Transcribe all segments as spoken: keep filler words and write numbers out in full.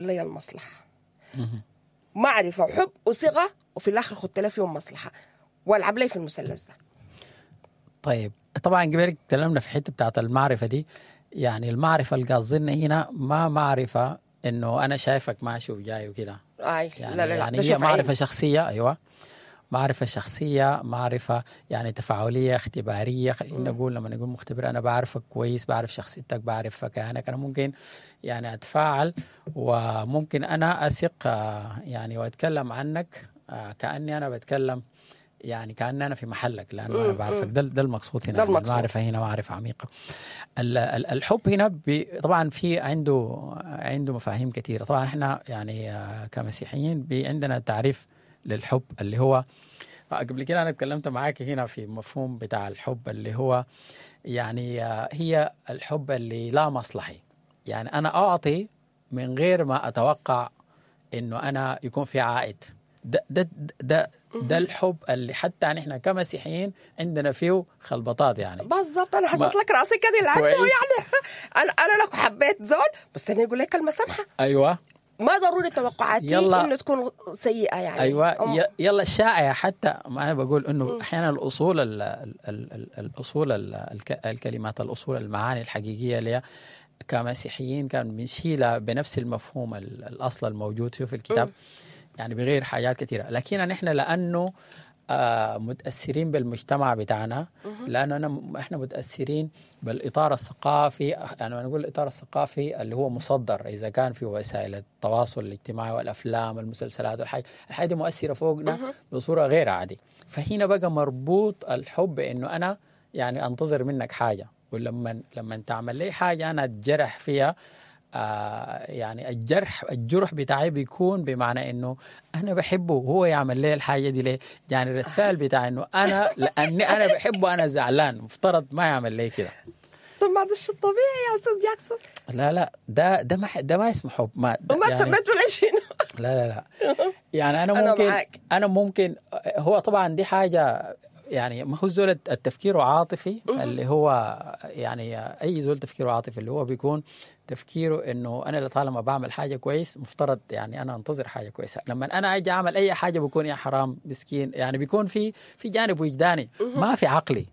لي المصلحة. معرفة وحب وثقة، وفي الآخر خدت لي فيهم مصلحة والعب لي في المثلث ده. طيب طبعا قبل تكلمنا في حتة بتاعت المعرفة دي، يعني المعرفة اللي قصدنا هنا ما معرفة انه انا شايفك ماشي وجاي وكده. اي يعني لا لا لا، يعني ده هي شوف معرفة عين. شخصية. ايوه معرفة شخصية، معرفة يعني تفاعلية اختبارية. خلينا نقول لما نقول مختبر أنا بعرفك كويس، بعرف شخصيتك، بعرف كيانك، أنا ممكن يعني أتفاعل وممكن أنا أثق آه، يعني وأتكلم عنك آه، كأني أنا بتكلم يعني كأن أنا في محلك لأنه أنا بعرفك. ده ده المقصود هنا. ده يعني المقصود. المعرفة هنا معرفة عميقة. ال- ال- الحب هنا بي طبعا في عنده عنده مفاهيم كثيرة. طبعا احنا يعني آه، كمسيحيين بي عندنا تعريف للحب اللي هو قبل كده انا اتكلمت معاك هنا في مفهوم بتاع الحب اللي هو يعني آه، هي الحب اللي لا مصلحي، يعني انا اعطي من غير ما اتوقع انه انا يكون في عائد. ده ده ده ده الحب اللي حتى نحن كمسيحيين عندنا فيه خلبطات يعني. بالضبط، انا ما- حسيت لك راسي كده لانه كويس. يعني انا انا لو حبيت زول بس انا يقول لك كلمة سمحه، ايوه ما ضروري توقعاتي يلا. انه تكون سيئه يعني. ايوه أم- ي- يلا الشائع حتى ما انا بقول انه احيانا الاصول ال ال ال الاصول ال الك الكلمات، الاصول المعاني الحقيقية اللي كمسيحيين كان بنشيلها بنفس المفهوم ال- الاصل الموجود فيه في الكتاب، يعني بغير حاجات كثيرة. لكن نحن لانه آه، متاثرين بالمجتمع بتاعنا، لانه أنا احنا متاثرين بالاطار الثقافي. يعني نقول الاطار الثقافي اللي هو مصدر اذا كان في وسائل التواصل الاجتماعي والافلام والمسلسلات والحاجة الحاجة دي مؤثرة فوقنا بصورة غير عادية. فهنا بقى مربوط الحب انه انا يعني انتظر منك حاجة، ولما لما تعمل لي حاجة انا اتجرح فيها، آه يعني الجرح الجرح بتاعي بيكون بمعنى انه انا بحبه وهو يعمل لي الحاجة دي ليه؟ يعني رد فعل بتاع انه انا لاني انا بحبه انا زعلان، مفترض ما يعمل لي كده. طب ما ده الشيء الطبيعي يا استاذ جاكسون. لا لا ده ده ما ده ما اسمه حب. ما ده وما يعني سميته ليش شنو؟ لا لا لا يعني انا أنا ممكن معاك. انا ممكن هو طبعا دي حاجة يعني ما هو زول التفكير عاطفي اللي هو يعني اي زول تفكيره عاطفي اللي هو بيكون تفكيره انه انا طالما بعمل حاجة كويس مفترض يعني انا انتظر حاجة كويسة. لما انا اجي اعمل اي حاجة بكون يا حرام مسكين، يعني بيكون في في جانب وجداني ما في عقلي.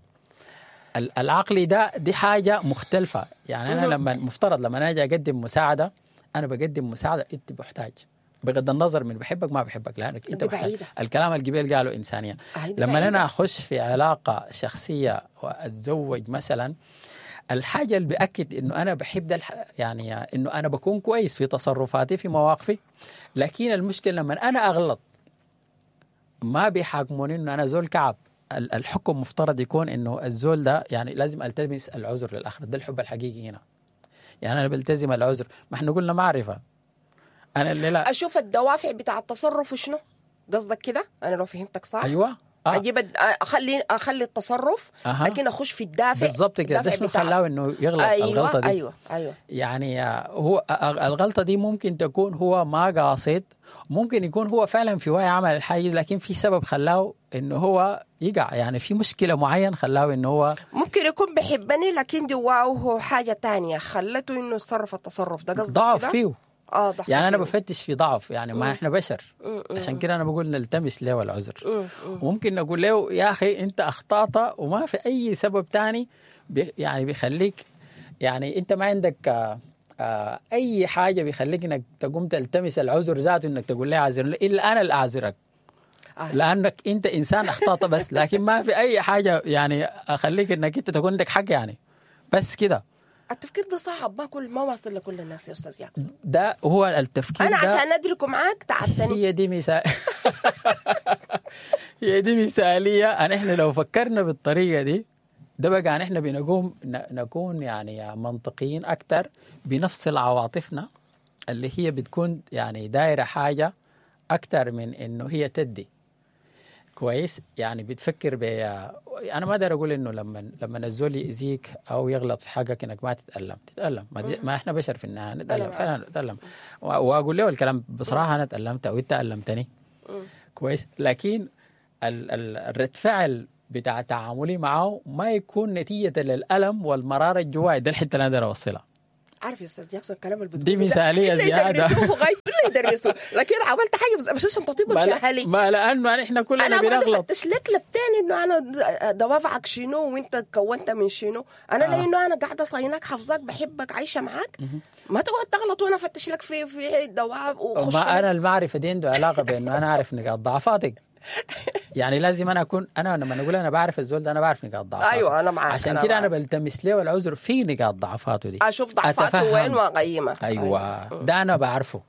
ال- العقلي ده دي حاجة مختلفة. يعني انا لما مفترض لما انا اجي اقدم مساعدة، انا بقدم مساعدة انت محتاج، بغض النظر من بحبك ما بحبك، لانك انت دي محتاج. بعيدة. الكلام القبيل قالوا انسانيه. آه، دي لما بعيدة. انا اخش في علاقة شخصية واتزوج مثلا، الحاجة اللي بأكد انه انا بحب ده الح... يعني انه انا بكون كويس في تصرفاتي في مواقفي. لكن المشكلة لما انا اغلط ما بيحاكموني انه انا زول كعب. ال- الحكم مفترض يكون انه الزول ده يعني لازم التمس العذر للاخر. ده الحب الحقيقي هنا. يعني انا بلتزم العذر. ما احنا قلنا معرفة. انا اللي لا اشوف الدوافع بتاع التصرف شنو قصدك كده؟ انا لو فهمتك صح. ايوه آه. اجيب الد- اخلي اخلي التصرف، أها. لكن اخش في الدافع. بالضبط كده. ده الدافع شنو بتاع- خلاه انه يغلط أيوة الغلطة دي؟ ايوه ايوه يعني آه، هو آه، الغلطة دي ممكن تكون هو ما قاصد، ممكن يكون هو فعلا في وعي عمل الحاجة دي، لكن في سبب خلاه انه هو يقع، يعني في مشكلة معين خلاه انه هو ممكن يكون بحبني لكن جواه حاجة تانية خلته انه يتصرف التصرف ده. قصدك ضعف كده؟ فيه. اه ضعف يعني انا فيه. بفتش في ضعف، يعني ما احنا بشر، عشان كده انا بقول نلتمس له العذر. وممكن نقول له يا اخي انت اخطات وما في اي سبب تاني بي يعني بيخليك، يعني انت ما عندك آه، آه، اي حاجة بيخليك انك تقوم تلتمس العذر ذاته، انك تقول لي اعذر الا انا اللي اعذرك آه. لانك انت انسان اخطات بس، لكن ما في اي حاجة يعني اخليك انك انت تكون عندك حق يعني بس كده. التفكير ده صعب، ما كل ما واصل لكل الناس يا استاذ جاكسون. ده هو التفكير انا ده. عشان ادركه معاك تعبتني. هي دي مثال هي دي مثالية. أن إحنا لو فكرنا بالطريقة دي ده بقى نحن بنقوم ن- نكون يعني منطقيين أكثر، بنفصل عواطفنا اللي هي بتكون يعني دايرة حاجة أكثر من إنه هي تدي كويس. يعني بتفكر ب انا ما اقدر اقول انه لما لما الزول يأذيك او يغلط في حقك انك ما تتألم، تتألم. ما, دي- ما احنا بشر في النهاية نتألم، معاك. فعلا نتألم. و- واقول له الكلام بصراحة، انا تألمت او انت ألمتني كويس، لكن ال- ال- الرد فعل بتاع تعاملي معه ما يكون نتيجة للألم والمرارة الجواي. ده الحتة اللي انا اقدر اوصلها. عارف يا استاذ جاكسون الكلام اللي دي بتقوله ده مثالية إلا زيادة. يدرسوه غاية الا يدرسوه، لكن عملت حاجة بس بس عشان تطيب ما, لا اهلي. ما لانه نحن كلنا انا قاعدة بنغلط. افتش لك لبتين انه انا دوافعك شنو وانت كونت من شنو. انا آه. لانه انا قاعدة صايناك حافظاك بحبك عايشه معاك، ما تقعد تغلط وانا افتش لك في في دوافع وخش ما لك. انا المعرفة دي عنده علاقة بانه انا اعرف نقاط ضعفاتك. يعني لازم انا اكون انا لما اقول انا بعرف الزول ده انا بعرف نقاط ضعفاته. ايوه انا معاك، عشان أنا كده انا معاك. بلتمس له العذر في نقاط ضعفاته دي، اشوف ضعفاته أتفهم. وين واقيمها. ايوه ده انا بعرفه.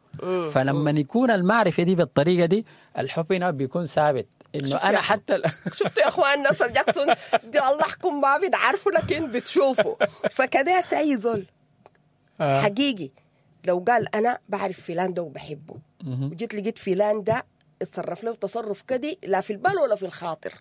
فلما يكون المعرفة دي بالطريقة دي الحب هنا بيكون ثابت انه شفت انا يا حتى ال- شفتوا يا اخوان ناصر جاكسون دي الله يحكم ما بتعرفوا لكن بتشوفوا. فكده ساي زول آه. حقيقي لو قال انا بعرف فلان ده وبحبه، وجيت لقيت فلان ده اتصرف له تصرف كدي لا في البال ولا في الخاطر،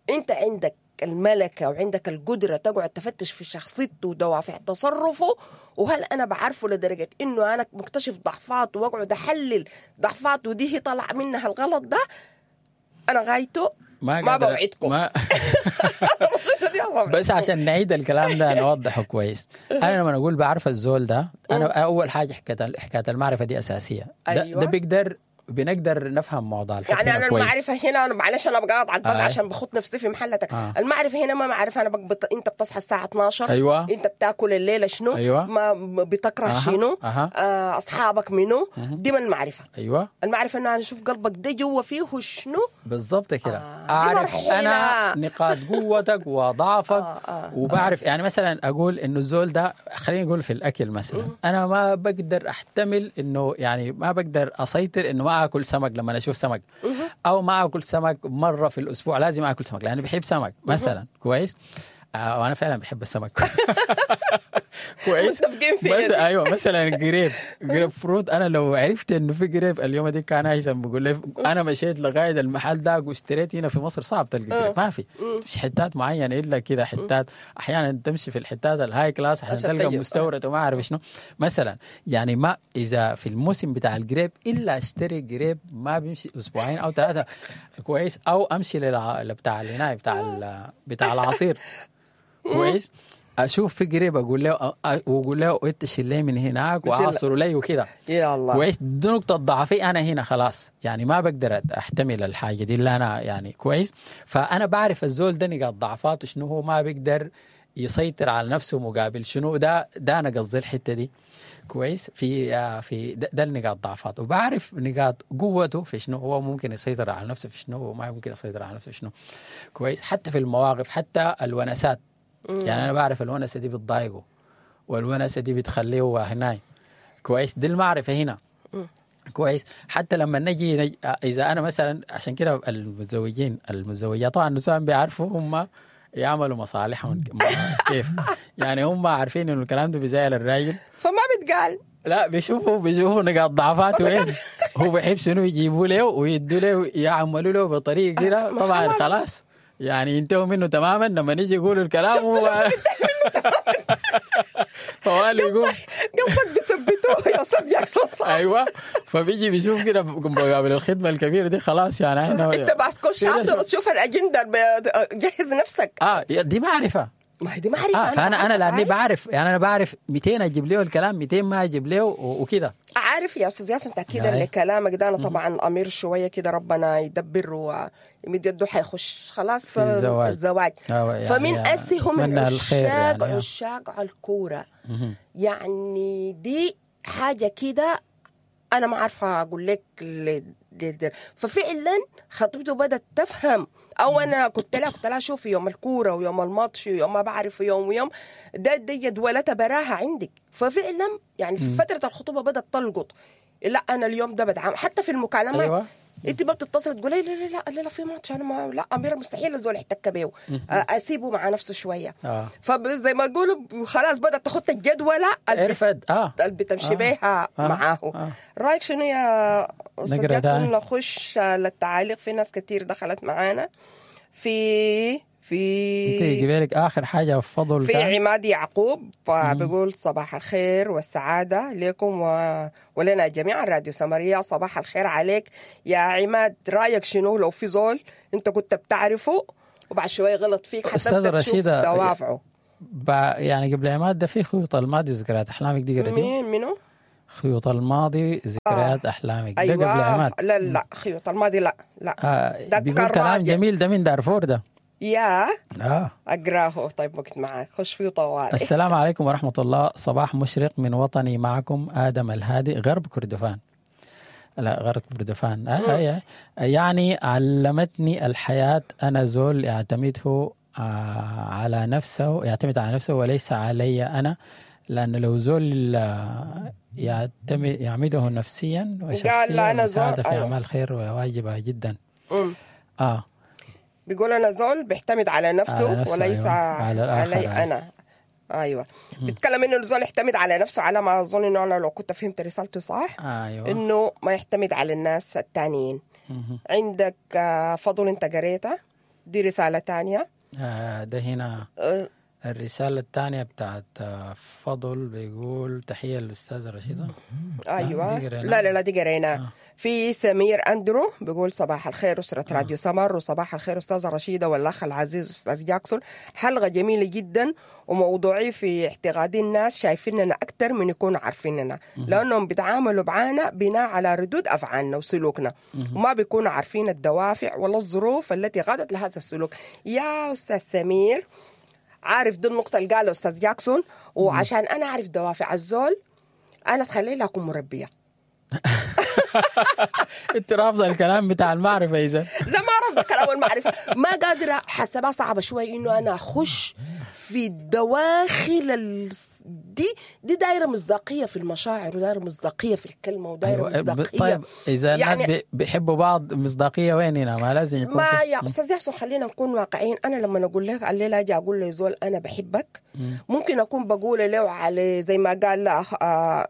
انت عندك الملكة وعندك القدرة تقعد تفتش في شخصيته ودوافع تصرفه، وهل أنا بعرفه لدرجة إنه أنا مكتشف ضعفاته وأقعد أحلل ضعفاته دي هي طلع منها الغلط ده، أنا غايته ما, قادر- بوعدكم. ما النصيحة دي ما بوعدكم. بس عشان نعيد الكلام ده نوضحه كويس. انا لما اقول بعرف الزول ده، انا اول حاجة حكاية حكاية المعرفة دي اساسية. ده, أيوة. ده بيقدر بنقدر نفهم موضوع الحب يعني هنا انا كويس. المعرفة هنا انا معلش انا بقاطعك بس آه. عشان بخط نفسي في محلتك. آه. المعرفة هنا ما معرفة انا بقبط... انت بتصحى الساعة اتناشر، أيوة. انت بتاكل الليلة شنو، أيوة. ما بتكره أها. شنو، أها. آه اصحابك منو، دي من المعرفة. ايوه المعرفة انه انا اشوف قلبك ده جوا فيه شنو بالضبط كده. آه، دي اعرف مرحلة. انا نقاط قوتك وضعفك. آه، آه، وبعرف يعني مثلا اقول انه الزول ده، خلينا نقول في الاكل مثلا، انا ما بقدر احتمل انه يعني ما بقدر اسيطر انه ما اكل سمك لما اشوف سمك، او ما اكل سمك مرة في الاسبوع، لازم اكل سمك لاني بحب سمك مثلا. كويس. آه وانا فعلا بحب السمك. كويس. متفقين فيها بس دي. ايوه مثلا جريب جريب فروت، انا لو عرفت انه في جريب اليوم دي كان هيثم بيقول لي انا مشيت لغاية المحل ده واشتريت. هنا في مصر صعب تلقى جريب، ما في مش حتات معينة الا كده حتات، احيانا تمشي في الحتات ال high class عشان عشان تلقى تجيب. مستورد وما اعرف شنو مثلا. يعني ما اذا في الموسم بتاع الجريب الا اشتري جريب ما بيمشي اسبوعين او ثلاثة. كويس. او امشي للع... بتاع الهناي بتاع ال... بتاع العصير. كويس. اشوف في قريب اقول له أ- واقول له انت شيل لي من هناك شيل- واعصره لي وكده. يا الله. كويس. دي نقطة ضعفي انا هنا خلاص، يعني ما بقدر احتمل الحاجة دي اللي انا يعني كويس. فانا بعرف الزول ده نقاط ضعفاته شنو، هو ما بيقدر يسيطر على نفسه مقابل شنو، ده ده انا قصدي الحتة دي. كويس. في آه، في ده, ده النقاط ضعفاته، وبعرف نقاط قوته في شنو، هو ممكن يسيطر على نفسه في شنو وما ممكن يسيطر على نفسه في شنو. كويس. حتى في المواقف، حتى الونسات، يعني انا بعرف الونسه دي بتضايقه والونسه دي بتخليه هناي. كويس. دي المعرفة هنا. كويس. حتى لما نجي نج... اذا انا مثلا، عشان كده المتزوجين المتزوجات طبعا النسوان بيعرفوا هم يعملوا مصالحهم كيف، يعني هم عارفين انه الكلام ده بيزعل الراجل فما بتقال. لا بيشوفوا بيشوفوا نقاط ضعفاته وين، هو بيحب شنو يجيبوا له ويدوا له يعملوا له بطريقة كده. ما طبعا خلاص. خلاص يعني ينتهوا منه تماما لما نيجي يقولوا الكلام شفت- هو فوالي يقوم قصدك بيثبتوه يا استاذ جاكسون صح؟ ايوه. فبيجي بيشوف كده مقابل الخدمة الكبيرة دي خلاص يعني احنا انت بس تخش كده حاضر شوف. وتشوف الاجندة ب- جهز نفسك. اه دي معرفة. ما هي دي معرفة. اه فانا انا بعرفك. لاني بعرف، يعني انا بعرف ميتين اجيب له الكلام، ميتين ما اجيب له و- وكده. عارف يا استاذ ياسر تاكيدا أي. لكلامك ده، انا طبعا امير شوية كده ربنا يدبر ويمد يده حيخش خلاص في الزواج. الزواج. آه، يعني فمن اسي هم أتمنى الخير العشاق يعني. عشاق على الكورة. يعني دي حاجة كده انا ما عارفه اقول لك ل- ل- ففعلا خطيبته بدات تفهم. او انا كنت لها كنت لها شوفي يوم الكورة ويوم الماتش ويوم ما بعرف يوم ويوم ده دي جدولتها براها عندك. ففعلا يعني في فترة الخطوبة بدات تلقط، لا انا اليوم ده بدعم حتى في المكالمات. أيوة. انت ما بتتصل تقولي لا لا لا لا, لا في ماتش انا ما لا اميره مستحيل الزول يحتك بيه، اسيبه مع نفسه شوية. اه فزي ما يقولوا خلاص بدات تخط الجدوله اللي عرفت اه اللي بتمشي آه. بيها آه. معاه. آه. رايك شنو يا استاذ نقرأ جاكسون؟ تاني. نخش للتعاليق، في ناس كتير دخلت معانا في في انت قبالك اخر حاجة فضل في كان؟ عماد يعقوب بيقول صباح الخير والسعادة لكم و... ولنا جميعا. راديو سمرية صباح الخير عليك يا عماد. رأيك شنو لو في زول انت كنت بتعرفه وبعد شوية غلط فيك حتى أستاذة تبدأ تشوف رشيدة، دوافعه؟ يعني قبل عماد ده في خيوط الماضي وذكريات احلامك دي قريتي؟ مين منو؟ خيوط الماضي ذكريات آه. احلامك. أيوة. ده قبل عماد. لا لا خيوط الماضي لا لا آه. ده بيقول كلام جميل، ده من دارفور ده. يا آه. اقراه. طيب وقت معك خش فيه طوالي. السلام عليكم ورحمة الله، صباح مشرق من وطني، معكم ادم الهادي، غرب كردفان. لا غرب كردفان. آه آه. يعني علمتني الحياة انا زول يعتمده آه على نفسه، يعتمد على نفسه وليس علي انا، لأن لو زول يعتمد يعمده نفسيا وشخصيا ومساعدة في أعمال خير وواجبة جدا. مم. آه بيقول أنا زول بيعتمد على نفسه, على نفسه وليس أيوة. على علي أيوة. أنا أيوة. بيتكلم إنه الزول يعتمد على نفسه، على ما أظن إنه أنا لو كنت فهمت رسالته صح. أيوة. إنه ما يعتمد على الناس التانيين. مم. عندك فضل أنت قريتها دي رسالة تانية. آه ده هنا أه الرسالة الثانية بتاعت فضل بيقول تحية للأستاذة رشيدة. أيوة. لا لا لا دي قريناها. آه. في سمير أندرو بيقول صباح الخير أسرة آه. راديو سمر، وصباح الخير أستاذة رشيدة والأخ العزيز أستاذ جاكسون. حلقة جميلة جدا وموضوعي في اعتقادي الناس شايفيننا أكثر من يكونوا عارفيننا، لأنهم بيتعاملوا معانا بناء على ردود أفعالنا وسلوكنا، وما بيكونوا عارفين الدوافع ولا الظروف التي قادت لهذا السلوك. يا أستاذ سمير، عارف دي النقطة اللي قالها أستاذ جاكسون، وعشان أنا أعرف دوافع الزول أنا تخلي لها أكون مربية. أنت رافضة الكلام بتاع المعرفة إذا؟ لا ما رافضة كلام المعرفة، ما قادرة، حسبها صعبة شوي إنه أنا أخش في الدواخل ال... دي دي دايرة مصداقية في المشاعر، ودايرة مصداقية في الكلمة، ودايرة أيوة. مصداقية. طيب إذا الناس يعني بيحبوا بعض مصداقية وين هنا؟ ما لازم يكون ما يا أستاذ يحسن خلينا نكون واقعيين. أنا لما أقول لك الليلة أجي أقول له زول أنا بحبك، ممكن أكون بقول له على زي ما قال أخ...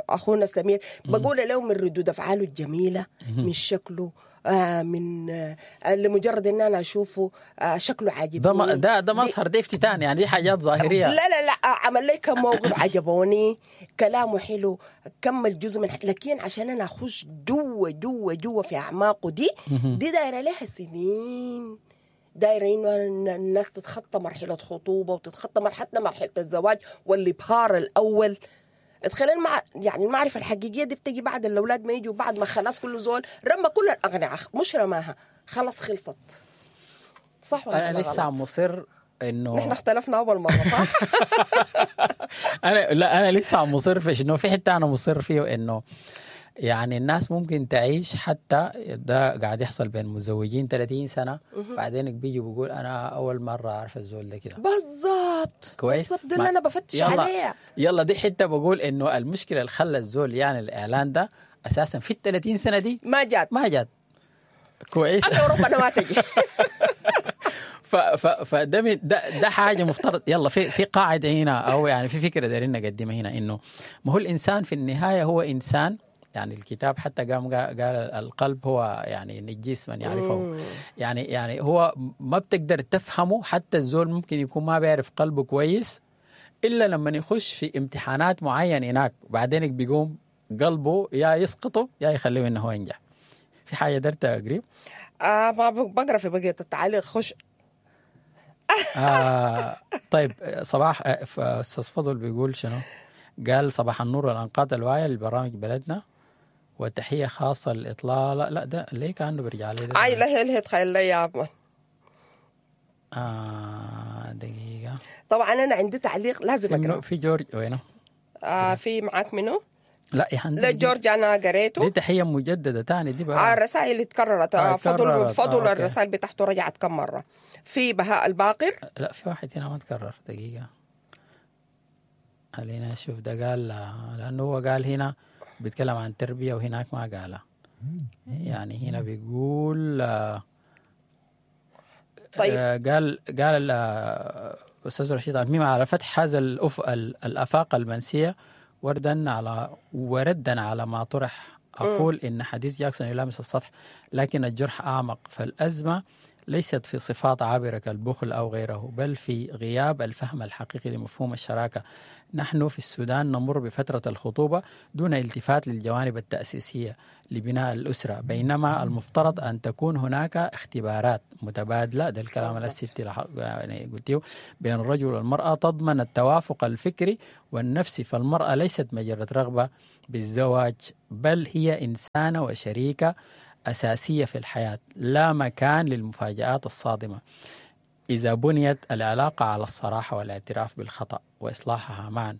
أخونا سمير، بقول له من ردود أفعاله الجميلة، من شكله، آه من آه لمجرد ان انا اشوفه آه شكله عاجبني. ده ده ده مظهر، ده افتتان، يعني دي حاجات ظاهرية. لا لا لا عمل لي كم موقف عجبوني، كلامه حلو، كمل جزء من، لكن عشان انا اخش جوه جوه جوه في اعماقه دي دي دايرة لها سنين، دايرة انه الناس تتخطى مرحلة خطوبه وتتخطى مرحلة مرحلة الزواج والابهار الاول. تخيل مع يعني المعرفة الحقيقية دي بتجي بعد الأولاد ما يجوا، بعد ما خلاص كل زول رمى كل الأقنعة، مش رماها خلاص خلصت. صح ولا أنا لسه مصر إنه نحن اختلفنا أول مرة صح؟ أنا لا أنا لسه مصر في إنه في حتة أنا مصر فيه إنه يعني الناس ممكن تعيش، حتى ده قاعد يحصل بين متزوجين ثلاثين سنة، بعدين بيجي بيقول أنا أول مرة أعرف الزول ده كده. بالضبط كويس، بالضبط ده اللي أنا بفتش يلا عليه. يلا دي حتة بقول إنه المشكلة اللي خلى الزول يعني الإعلان ده أساسا في الثلاثين سنة دي ما جات ما جات كويس. أنا ربنا ما تجي. ف ف فده ده ده حاجة مفترض. يلا في في قاعدة هنا، أو يعني في فكرة دايرين نقدمها هنا، إنه ما هو الإنسان في النهاية هو إنسان. يعني الكتاب حتى قام قال القلب هو يعني نجيس من يعرفه، يعني يعني هو ما بتقدر تفهمه، حتى الزول ممكن يكون ما بيعرف قلبه كويس إلا لما يخش في امتحانات معينة هناك، بعدين بيقوم قلبه يا يسقطه يا يخليه إنه هو ينجح. في حاجة درت قريب؟ آه ما بقرأ في بقية التعليق. خش. آه طيب صباح أستاذ فضل بيقول شنو؟ قال صباح النور والأنقاض الواعية لبرامج بلدنا، وتحية خاصة للإطلالة. لا ده ليه كأنه برجع لي ده؟ أي لا هي تخيل لي يا أبا. آه دقيقة. طبعا أنا عندي تعليق لازم أقرأ. في جورج وينه؟ آه في معاك منه؟ لا يا حندي لا جورج أنا قريته. دي تحية مجددة تاني دي بقى. آه الرسائل اللي تكررت. آه فضل فضل آه الرسائل بتاعته رجعت كم مرة. في بهاء الباقر. لا في واحد هنا ما تكرر. دقيقة خلينا نشوف ده قال، لأنه هو قال هنا بيتكلم عن تربية وهناك ما قالها. يعني هنا بيقول طيب قال قال الأستاذ رشيد الميم على فتح هذا الأف الآفاق المنسية، وردا على وردا على ما طرح أقول إن حديث جاكسون يلامس السطح لكن الجرح أعمق، فالأزمة ليست في صفات عابرة كالبخل أو غيره، بل في غياب الفهم الحقيقي لمفهوم الشراكة. نحن في السودان نمر بفترة الخطوبة دون التفات للجوانب التأسيسية لبناء الأسرة، بينما المفترض أن تكون هناك اختبارات متبادلة، ده الكلام اللي يعني قلتيه، بين الرجل والمرأة تضمن التوافق الفكري والنفسي. فالمرأة ليست مجرد رغبة بالزواج، بل هي إنسانة وشريكة أساسية في الحياة، لا مكان للمفاجآت الصادمة إذا بنيت العلاقة على الصراحة والاعتراف بالخطأ وإصلاحها معا.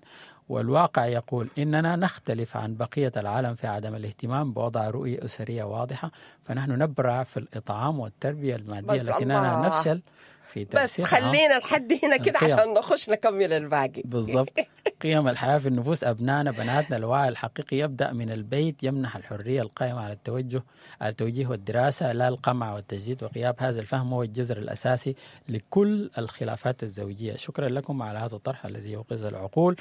والواقع يقول إننا نختلف عن بقية العالم في عدم الاهتمام بوضع رؤية أسرية واضحة، فنحن نبرع في الإطعام والتربية المادية، لكننا نفشل في بس خلينا لحد هنا كده عشان نخش نكمل الباقي. بالضبط. قيم الحياة في النفوس أبنائنا بناتنا، الوعي الحقيقي يبدأ من البيت، يمنح الحرية القائمة على التوجه على التوجيه والدراسة، لا القمع والتشديد. وغياب هذا الفهم هو الجذر الأساسي لكل الخلافات الزوجية. شكرا لكم على هذا الطرح الذي يوقظ العقول.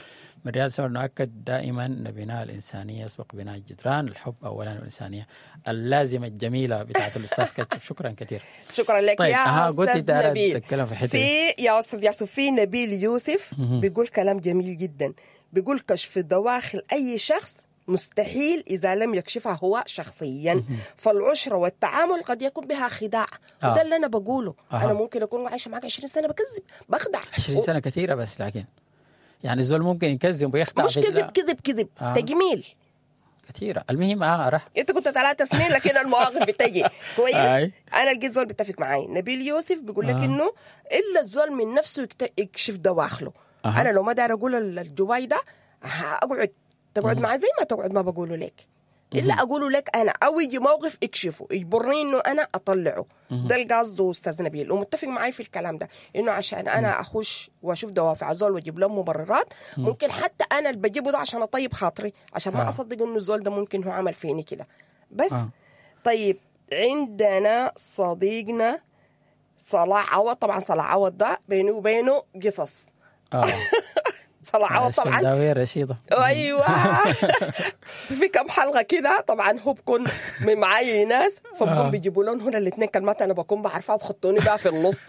من رياض سمر نؤكد دائما أن بناء الإنسانية يسبق بناء الجدران، الحب أولا والإنسانية. اللازمة الجميلة بتاعت الأستاذ كاتشب، شكرا كثير. شكرا لك. طيب. يا أستاذ نبيل. في, في يا أستاذ ياسف، في نبيل يوسف بيقول كلام جميل جدا، بيقول كشف دواخل أي شخص مستحيل إذا لم يكشفها هو شخصيا، فالعشرة والتعامل قد يكون بها خداع. آه. وده اللي أنا بقوله. آه. أنا ممكن أكون عايشة معك عشرين سنة بكذب بخدع. عشرين سنة كثيرة، بس لكن يعني الزول ممكن يكذب ويخدع، مش كذب كذب كذب. آه. تجميل كثيرة. المهم اه راح انت كنت ثلاثة سنين لكن المواقف بتجي كويس. انا لقيت زول بيتفق معي، نبيل يوسف بيقول لك آه. انه الا الزول من نفسه يكشف دواخله. آه. انا لو ما داير اقول الجواي ده اقعد تقعد معي زي ما تقعد، ما بقوله لك الا اقوله لك انا، او يجي موقف اكشفه يجبرني انه انا اطلعه. ده القصد استاذ نبيل، ومتفق معي في الكلام ده، انه عشان انا اخش واشوف دوافع زول واجيب لهم مبررات، ممكن حتى انا اللي بجيبه ده عشان اطيب خاطري، عشان ما اصدق انه الزول ده ممكن هو عمل فيني كده بس. آه. طيب عندنا صديقنا صلاح عوض. طبعا صلاح عوض ده بينه وبينه قصص. آه. صلاح عوض طبعا الشنداوية رشيدة. ايوه. في كم حلقة كده طبعا هو بكون معاي ناس، فبكون آه. بيجيبوا لهم هنا الاثنين كلمات انا بكون بعرفها وبخطوني بقى في النص.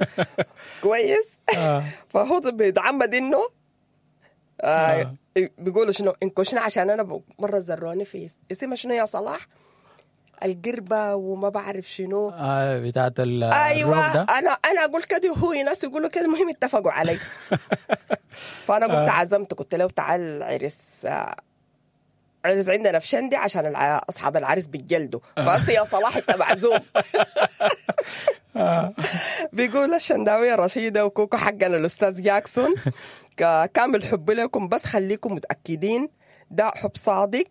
كويس. آه. فهو بيتعمد انه آه. بيقولوا شنو انكشنا، عشان انا مرة زروني في اسمها شنو يا صلاح، القربة وما بعرف شنو آه بتاعت ال ايوه ده. انا انا اقول كده وهو ناس يقولوا كده، المهم اتفقوا علي. فانا قلت عزمت، قلت له تعال عرس عرس عندنا في شندي عشان اصحاب العرس بيتجلدوا، فاسي يا صلاح انت معزوم. بيقول الشنداوية رشيدة وكوكو حقنا الاستاذ جاكسون، كامل حب لكم، بس خليكم متاكدين ده حب صادق.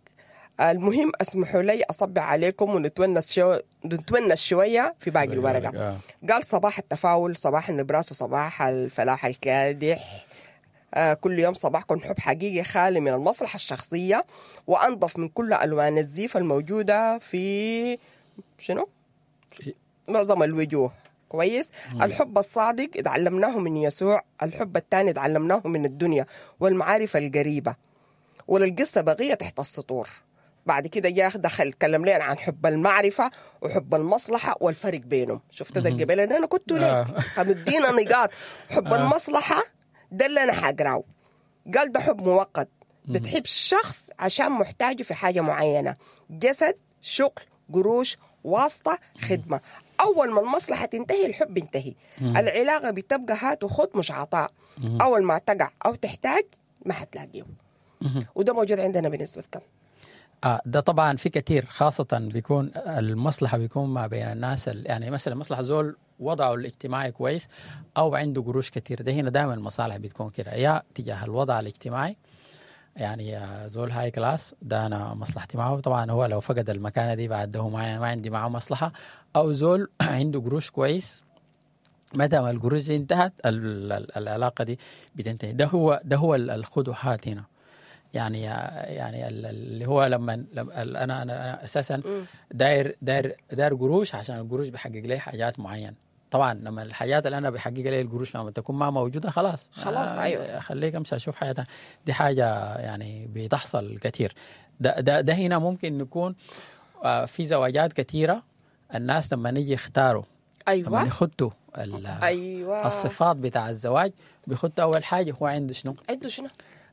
المهم اسمحوا لي أصبع عليكم ونتونس شو... نتونس شوية في باقي الورقة. قال صباح التفاؤل، صباح النبراس، وصباح الفلاح الكادح. آه كل يوم صباحكم حب حقيقي خالي من المصلحة الشخصية وأنظف من كل ألوان الزيف الموجودة في شنو؟ في معظم الوجوه. كويس. مم. الحب الصادق اتعلمناه من يسوع، الحب الثاني اتعلمناه من الدنيا والمعارف القريبة، وللقصة بقية تحت السطور. بعد كده جاء دخل تكلم لنا عن حب المعرفة وحب المصلحة والفرق بينهم. شفت ده الجبل اللي أنا كنت لك مدينا نقاط. حب المصلحة ده اللي أنا حقراه، قال ده حب مؤقت، بتحب الشخص عشان محتاجه في حاجة معينة، جسد، شغل، قروش، واسطة، خدمة. أول ما المصلحة تنتهي الحب ينتهي. العلاقة بتبقى هات وخد مش عطاء. أول ما تقع أو تحتاج ما حتلاقيه. وده موجود عندنا بنسبة كم؟ آه ده طبعا في كثير، خاصة بيكون المصلحة بيكون ما بين الناس، يعني مثلا مصلحة زول وضعه الاجتماعي كويس أو عنده قروش كثير، ده هنا دائما المصالح بتكون كده، يا تجاه الوضع الاجتماعي، يعني زول high class ده أنا مصلحتي معه، طبعا هو لو فقد المكانة دي بعد ده ما عندي معه مصلحة، أو زول عنده قروش كويس، متى ما القروش انتهت العلاقة دي بتنتهي. ده هو ده هو الخدوحات هنا. يعني يعني اللي هو لما انا انا اساسا داير داير داير قروش عشان القروش بيحقق لي حاجات معينة. طبعا لما الحاجات اللي انا بحقق لي القروش لما تكون ما موجودة خلاص خلاص ايوه خليك امشي اشوف حياتها. دي حاجة يعني بتحصل كثير. ده ده ده هنا ممكن نكون في زواجات كثيرة الناس لما نيجي يختاروا لما ايوه يخطوا ال- ايوه الصفات بتاع الزواج بيخطوا اول حاجة هو عنده شنو؟ عنده شنو؟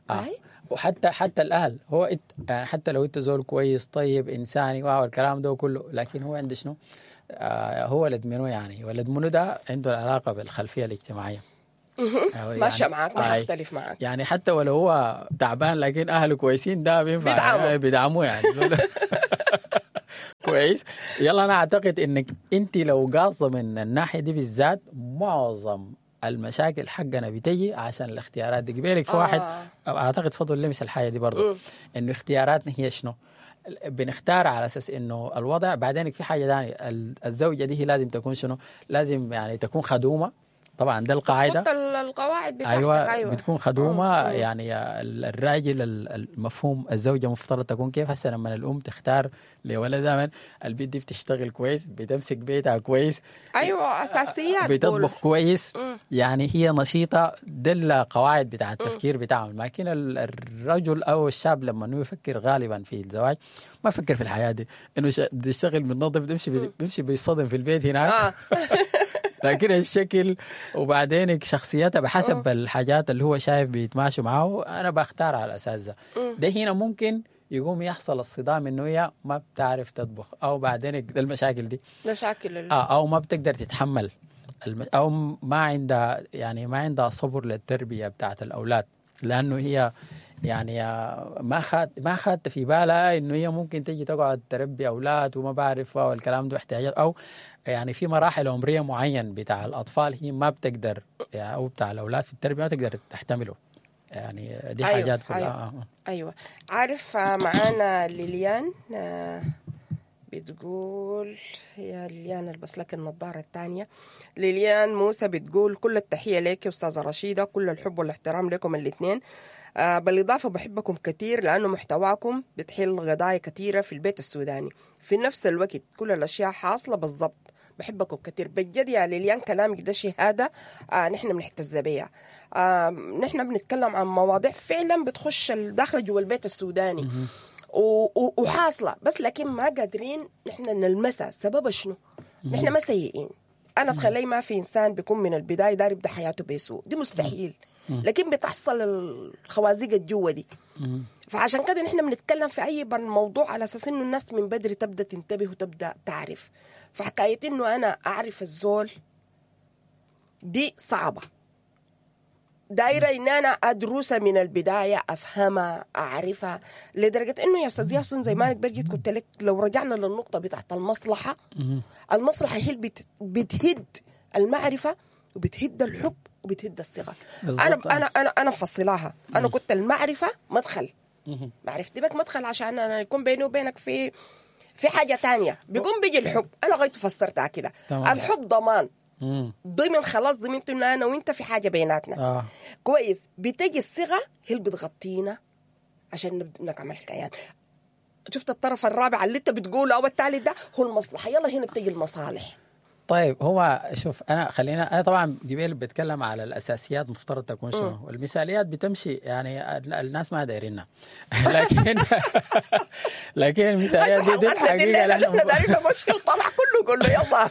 آه. أي. وحتى حتى الاهل هو إت يعني حتى لو انت زول كويس طيب انساني واو الكلام ده كله، لكن هو عنده شنو؟ آه هو ولد منو يعني؟ ولد منو ده عنده العلاقة بالخلفيه الاجتماعية. يعني ماشية معاك، ما آي. حختلف معاك. يعني حتى ولو هو تعبان لكن اهله كويسين ده بينفع بيدعمه. بيدعموه يعني. كويس. يلا انا اعتقد انك انت لو قاصه من الناحية دي بالذات معظم المشاكل حقنا بتجي عشان الاختيارات دي. قبالك في واحد آه. اعتقد فضل لمس الحاجة دي برضه، انه اختياراتنا هي شنو؟ بنختار على اساس انه الوضع. بعدين في حاجة ثانية، الزوجة دي هي لازم تكون شنو؟ لازم يعني تكون خدومه، طبعا ده القاعدة. تحط القواعد بتاعتك. ايوه, أيوة. بتكون خدومه. مم. يعني الراجل المفهوم الزوجة مفترض تكون كيف؟ هسه لما الام تختار لولدها من البيت دي بتشتغل كويس، بتمسك بيتها كويس، ايوه اساسيات، بتطبخ كويس. مم. يعني هي نشيطه، ده القواعد بتاع التفكير بتاعهم. لكن الرجل او الشاب لما انه يفكر غالبا في الزواج ما يفكر في الحياة دي، انه بيشتغل بينظف بيمشي بيمشي بيصطدم في البيت هناك. آه. لكن الشكل وبعدين شخصيتها بحسب الحاجات اللي هو شايف بيتماشوا معه، انا بختار على الاساس ده. ده هنا ممكن يقوم يحصل الصدام انه هي ما بتعرف تطبخ، او بعدين المشاكل دي مشاكل ال... آه او ما بتقدر تتحمل الم... او ما عندها يعني ما عندها صبر للتربية بتاعت الاولاد، لانه هي يعني ما خد ما خدت في بالها انه هي ممكن تيجي تقعد تربي اولاد وما بعرف والكلام ده احتياجات، او يعني في مراحل عمرية معين بتاع الاطفال هي ما بتقدر يعني، او بتاع الاولاد في التربية ما تقدر تحتمله. يعني دي أيوة حاجات كلها. أيوة. ايوه عارف. معانا ليليان بتقول، يا ليليان البس لك النظارة الثانية. ليليان موسى بتقول كل التحية لك يا استاذه رشيده، كل الحب والاحترام لكم الاثنين. آه بالإضافة بحبكم كثير لأنه محتواكم بتحل قضايا كثيرة في البيت السوداني، في نفس الوقت كل الأشياء حاصلة بالضبط. بحبكم كثير بجد يا ليليان، كلامك ده شهادة آه نحن بنحتز بيها. آه نحن بنتكلم عن مواضيع فعلا بتخش داخل جوا البيت السوداني وحاصلة، بس لكن ما قادرين نحن نلمسها. سببها شنو؟ نحن ما سيئين. أنا تخلي ما في إنسان بيكون من البداية داري يبدأ حياته بسوء، دي مستحيل. لكن بتحصل الخوازيق الجوة دي. فعشان كده نحن بنتكلم في أي موضوع على أساس إنه الناس من بدري تبدأ تنتبه وتبدأ تعرف. فحكاية إنه أنا أعرف الزول دي صعبة، دايرة إن أنا أدرسها من البداية، أفهمها، أعرفها، لدرجة إنه يا أستاذ ياسون زي ما أنا جيت قلت لك لو رجعنا للنقطة بتاعت المصلحة، المصلحة هي اللي بتهد المعرفة وبتهد الحب وبتهد الصغة. أنا أنا أنا أنا مفصلاها. أنا كنت المعرفة مدخل، معرفتي بك مدخل عشان أنا يكون بيني وبينك في في حاجة تانية. بيقوم بيجي الحب، أنا غايته فسرتها كده. الحب ضمان، ضمن خلاص ضمنت إنه أنا وإنت في حاجة بيناتنا. آه. كويس. بتجي الصيغة هي اللي بتغطينا عشان نبدأ نعمل كيان. شفت الطرف الرابع اللي أنت بتقوله أو الثالث ده هو المصلحة. يلا هنا بتجي المصالح. طيب هو شوف أنا خلينا أنا طبعا قبل بتكلم على الأساسيات مفترض تكون شنو، والمثاليات بتمشي يعني الناس ما دايرينها. لكن لكن المثاليات دي, دي الحقيقة نحن دايرين مشكل طلع كله كله يلا.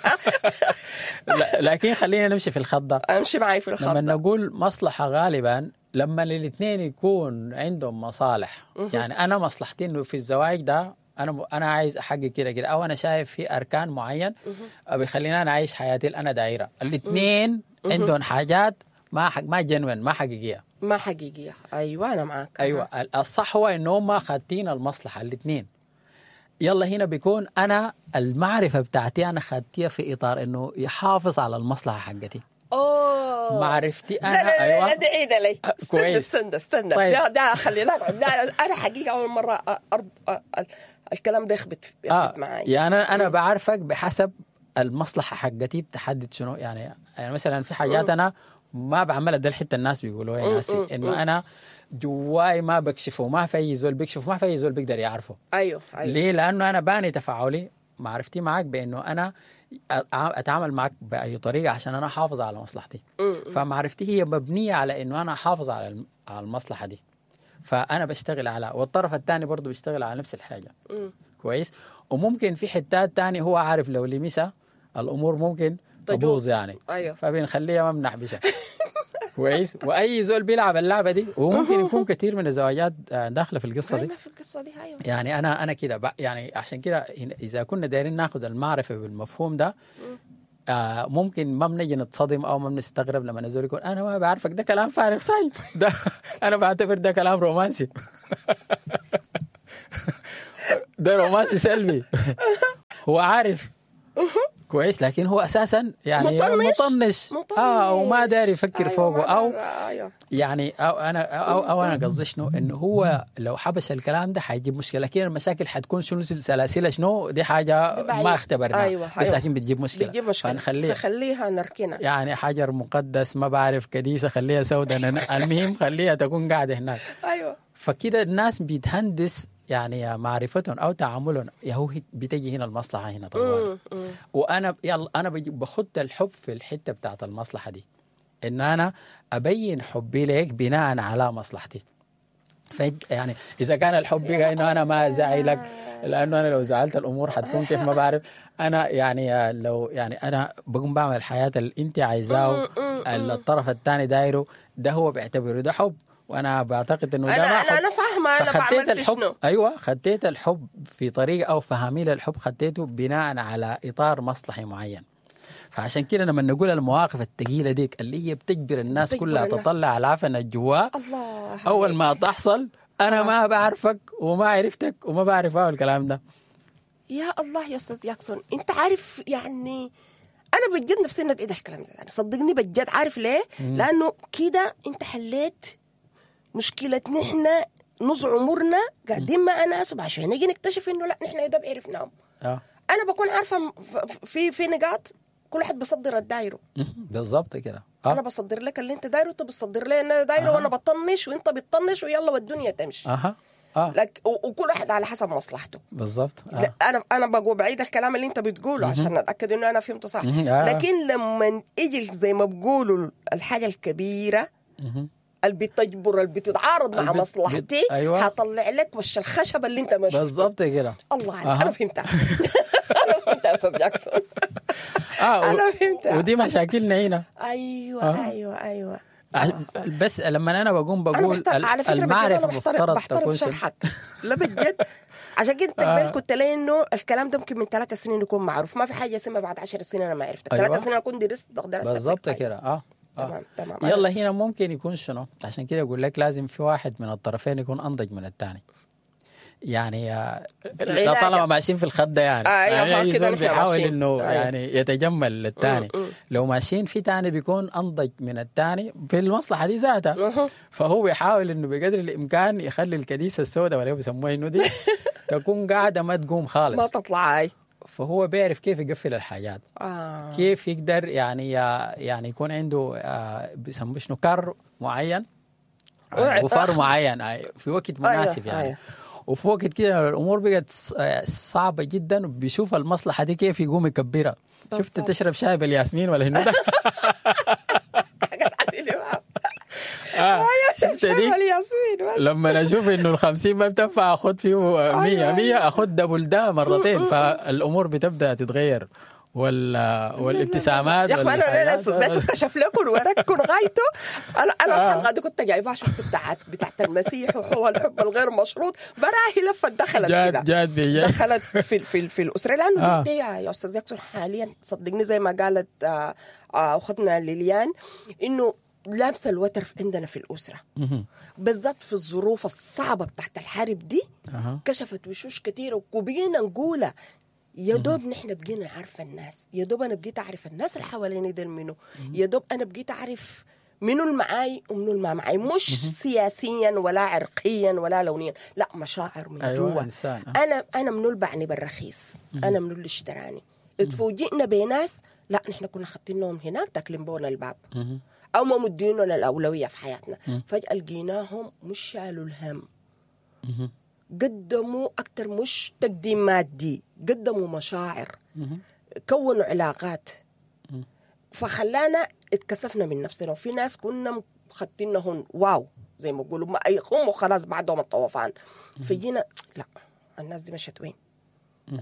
لكن خلينا نمشي في الخط ده. امشي معي في الخط. لما نقول مصلحة غالبا لما الاثنين يكون عندهم مصالح. يعني أنا مصلحتي إنه في الزواج ده انا انا عايز احقق كده كده، او انا شايف في اركان معين بيخليني انا اعيش حياتي اللي انا دايرة. الاثنين عندهم حاجات ما حق ما جنون، ما حقيقية، ما حقيقية. ايوه انا معاك. ايوه الصح هو انه هم خاتين المصلحة الاثنين. يلا هنا بيكون انا المعرفة بتاعتي انا خدتيها في اطار انه يحافظ على المصلحة حقتي. اوه معرفتي انا. لا لا لا. أيوة. لا دعيد لي. استنى استنى استنى. طيب. ده ده خلينا لا انا حقيقة اول مرة أرب... الكلام ده يخبط يخبط آه. معي. يعني انا انا بعرفك بحسب المصلحة حقتي بتحدد شنو. يعني يعني مثلا في حاجات انا ما بعملها، ده الحتة الناس بيقولوها يا ناسي انه انا جواي ما بكشفه، ما في اي زول بيكشفه، ما في اي زول بيقدر يعرفه. ايوه ايوه. ليه؟ لانه انا باني تفاعلي معرفتي معك بانه انا اتعامل معك باي طريقه عشان انا احافظ على مصلحتي. فمعرفتي هي مبنية على انه انا احافظ على على المصلحة دي. فانا بشتغل على، والطرف الثاني برضه بيشتغل على نفس الحاجة. م. كويس. وممكن في حتات تاني هو عارف لو لمسها الامور ممكن تبوظ يعني. ايوه. فبنخليها ما بنحبسها. كويس. واي زول بيلعب اللعبة دي، وممكن يكون كثير من الزواجات داخله في القصة دي. في القصة دي ايوه. يعني انا انا كده يعني عشان كده اذا كنا دايرين ناخذ المعرفة بالمفهوم ده آه ممكن ما بنجي نتصدم او ما بنستغرب لما نزول يقول انا ما بعرفك، ده كلام فارغ ساي ده انا بعتبر ده كلام رومانسي. ده رومانسي سلبي. هو عارف كويس، لكن هو اساسا يعني مطنش مطنش, مطنش. اه وما داري يفكر أيوة فوقه او أيوة. يعني او انا او, أو انا قصدي شنو، انه هو لو حبس الكلام ده حيجيب مشكلة، لكن المشاكل حتكون شنو سلاسل شنو، دي حاجة ما اختبرناها. أيوة. بس لكن بتجيب مشكلة، بتجيب مشكلة فنخليها فخليها نركنها يعني حجر مقدس ما بعرف كديسه خليها سوداء، المهم خليها تكون قاعدة هناك. ايوه. فكده الناس بتهندس يعني معرفتهم او تعاملهم، يا هو بتجي هنا المصلحة هنا طبعا. وانا يلا انا بخد الحب في الحتة بتاعت المصلحة دي، ان انا ابين حبي لك بناء على مصلحتي. يعني اذا كان الحب بقى انه انا ما ازعلك، لانه انا لو زعلت الامور حتكون كيف ما بعرف انا، يعني لو يعني انا بقوم بعمل الحياة اللي انت عايزاه الطرف الثاني دايرة، ده هو بيعتبره ده حب، وانا بعتقد انه ده انا ما حب. انا انا فاهمه انا بعمل في شنو. ايوه، خديت الحب في طريقه او فهمي للحب خديته بناء على اطار مصلحي معين. فعشان كده لما نقول المواقف الثقيلة ديك اللي هي بتجبر الناس بتجبر كلها الناس. تطلع العفن الجوا، الله اول ما تحصل انا ما بعرفك وما عرفتك وما بعرف اول الكلام ده. يا الله يا استاذ جاكسون، انت عارف يعني انا بجد نفسي اني اتعيد الكلام ده، يعني صدقني بجد. عارف ليه؟ لانه كده انت حليت مشكلة نحن نص عمرنا قاعدين مع ناس، وبعد نيجي نكتشف انه لا نحن يا دوب عرفناهم. اه انا بكون عارفه في في نقاط كل واحد بصدر الدايرة بالضبط كده. آه. انا بصدر لك اللي انت دايرة وانت بتصدر لي انا دايرة، أه. وانا بطنش وانت بتطنش، ويلا والدنيا تمشي. اها اه لك وكل واحد على حسب مصلحته بالضبط. آه. لا انا انا بقول بعيد الكلام اللي انت بتقوله عشان اتاكد انه انا فهمته صح. آه. لكن لما يجي زي ما بقولوا الحاجة الكبيرة اللي بتجبر اللي بتتعارض مع البت... مصلحتي، بت... أيوة. هطلع لك وش الخشب اللي انت ما شفته بالضبط كده. الله عليك. أه. انا فهمتها. انا فهمتها يا استاذ جاكسون. آه انا فهمتها، ودي مشاكلنا هنا. ايوه آه. ايوه ايوه. بس لما انا بقوم بقول أنا على فكرة المعرفة بحترم بحترم شرحك. لا بجد، عشان كده آه. كنت لاقي انه الكلام ده ممكن من ثلاث سنين يكون معروف، ما في حاجة اسمها بعد عشر سنين انا ما عرفتك. أيوة. ثلاث سنين اكون درست درست بالضبط كده. اه تمام تمام. يلا هنا ممكن يكون شنو، عشان كده اقول لك لازم في واحد من الطرفين يكون انضج من الثاني. يعني لا طالما ماشيين في الخط ده يعني, آه أيوة يعني كده بيحاول انه أيوة. يعني يتجمل للثاني. لو ماشيين في ثاني بيكون انضج من الثاني في المصلحة دي ذاتها، فهو بيحاول انه بقدر الامكان يخلي الكديسه السوداء ولا بيسموها انه دي تكون قاعدة ما تقوم خالص، ما تطلع. اي فهو بيعرف كيف يقفل الحاجات. آه. كيف يقدر يعني يعني يكون عنده آه بيسموه شنو كر معين وفر معين في وقت مناسب. أيوة. يعني أيوة. وفي وقت كده الامور بقت صعبة جدا، وبيشوف المصلحة دي كيف يقوم يكبرها. شفت تشرب شاي بالياسمين ولا هنا؟ آه. شفت دي؟ لما اشوف انه الخمسين ما بتنفع اخد فيه مية مية، اخد دبل ده مرتين، فالامور بتبدا تتغير وال والابتسامات. يا اخوان انا لا كشف لكم وركن غايته. انا انا الحلقة دي كنت جايبها شفت بتاعت بتاعت المسيح وهو الحب الغير مشروط، براهي لفت دخلت كده جاد بي دخلت في في في الاسرة، لانه آه. دي يا استاذ يكسر حاليا صدقني زي ما قالت آه اختنا ليليان انه لامسه الوتر عندنا في الاسرة بالذات في الظروف الصعبة بتاعت الحرب دي. أه. كشفت وشوش كثيرة وبقينا نقولها يا دوب نحن بقينا عارفه الناس، يا دوب انا بقيت اعرف الناس اللي حواليني دول منو، يا دوب انا بقيت اعرف منو المعاي ومنو الما معاي، مش سياسيا ولا عرقيا ولا لونيا، لا مشاعر من أيوة جوا. إنسان. انا انا منو اللي بعني بالرخيص، انا منو اللي اشتراني. اتفوجئنا بناس لا نحن كنا خاطينهم هناك تاكلين بونا الباب او ما مديننا الاولوية في حياتنا، فجاة لقيناهم مش شالوا الهم، قدموا أكتر مش تقديم مادي، قدموا مشاعر، كونوا علاقات، فخلانا اتكسفنا من نفسنا. وفي ناس كنا خدتينهم واو زي ما بيقولوا ما هم وخلاص بعدهم الطوفان، فجينا لا الناس دي مشت وين؟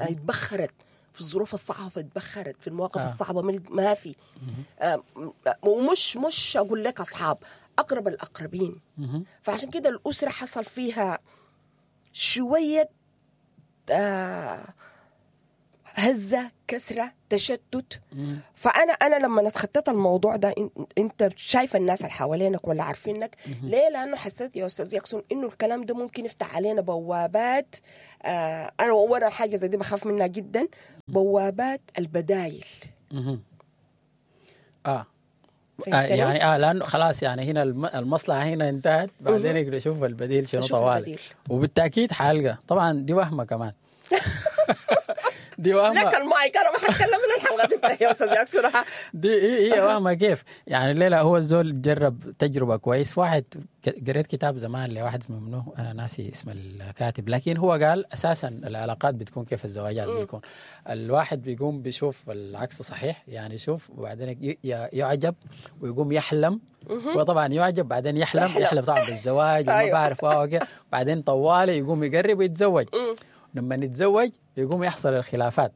اتبخرت. في الظروف الصعبة اتبخرت، في المواقف آه. آه. الصعبة مل- ما في. آه ومش مش اقول لك اصحاب، اقرب الاقربين. مهم. فعشان كده الاسرة حصل فيها شوية آه هزه، كسره، تشتت. فانا انا لما اتخطيت الموضوع ده، إن- انت شايف الناس اللي حوالينك ولا عارفينك ليه؟ لانه حسيت يا استاذ يكسون انه الكلام ده ممكن يفتح علينا بوابات. آه انا وانا حاجة زي دي بخاف منها جدا، بوابات البدايل. مهم. اه آه فهمتني؟ يعني اه لانه خلاص يعني هنا الم- المصلحة هنا انتهت، بعدين يقدر يشوف البديل شنو أشوف طوالي. البديل. وبالتاكيد حالقه طبعا، دي وهمه كمان، دي وهمه. لك المايك، انا ما حتكلم من الحلقة دي يا استاذ يكسون. دي هي هي وهمه كيف؟ يعني الليلة هو الزول جرب تجربه كويس. واحد ك- قريت كتاب زمان لواحد اسمه منو، انا ناسي اسم الكاتب، لكن هو قال اساسا العلاقات بتكون كيف، الزواجات بتكون الواحد بيقوم بيشوف العكس صحيح، يعني يشوف وبعدين ي- ي- يعجب ويقوم يحلم، وطبعا يعجب بعدين يحلم يحلم. يحلم طبعا بالزواج وما أيوة. بعرف واو كده. بعدين طوالي يقوم يقرب ويتزوج. لما نتزوج يقوم يحصل الخلافات.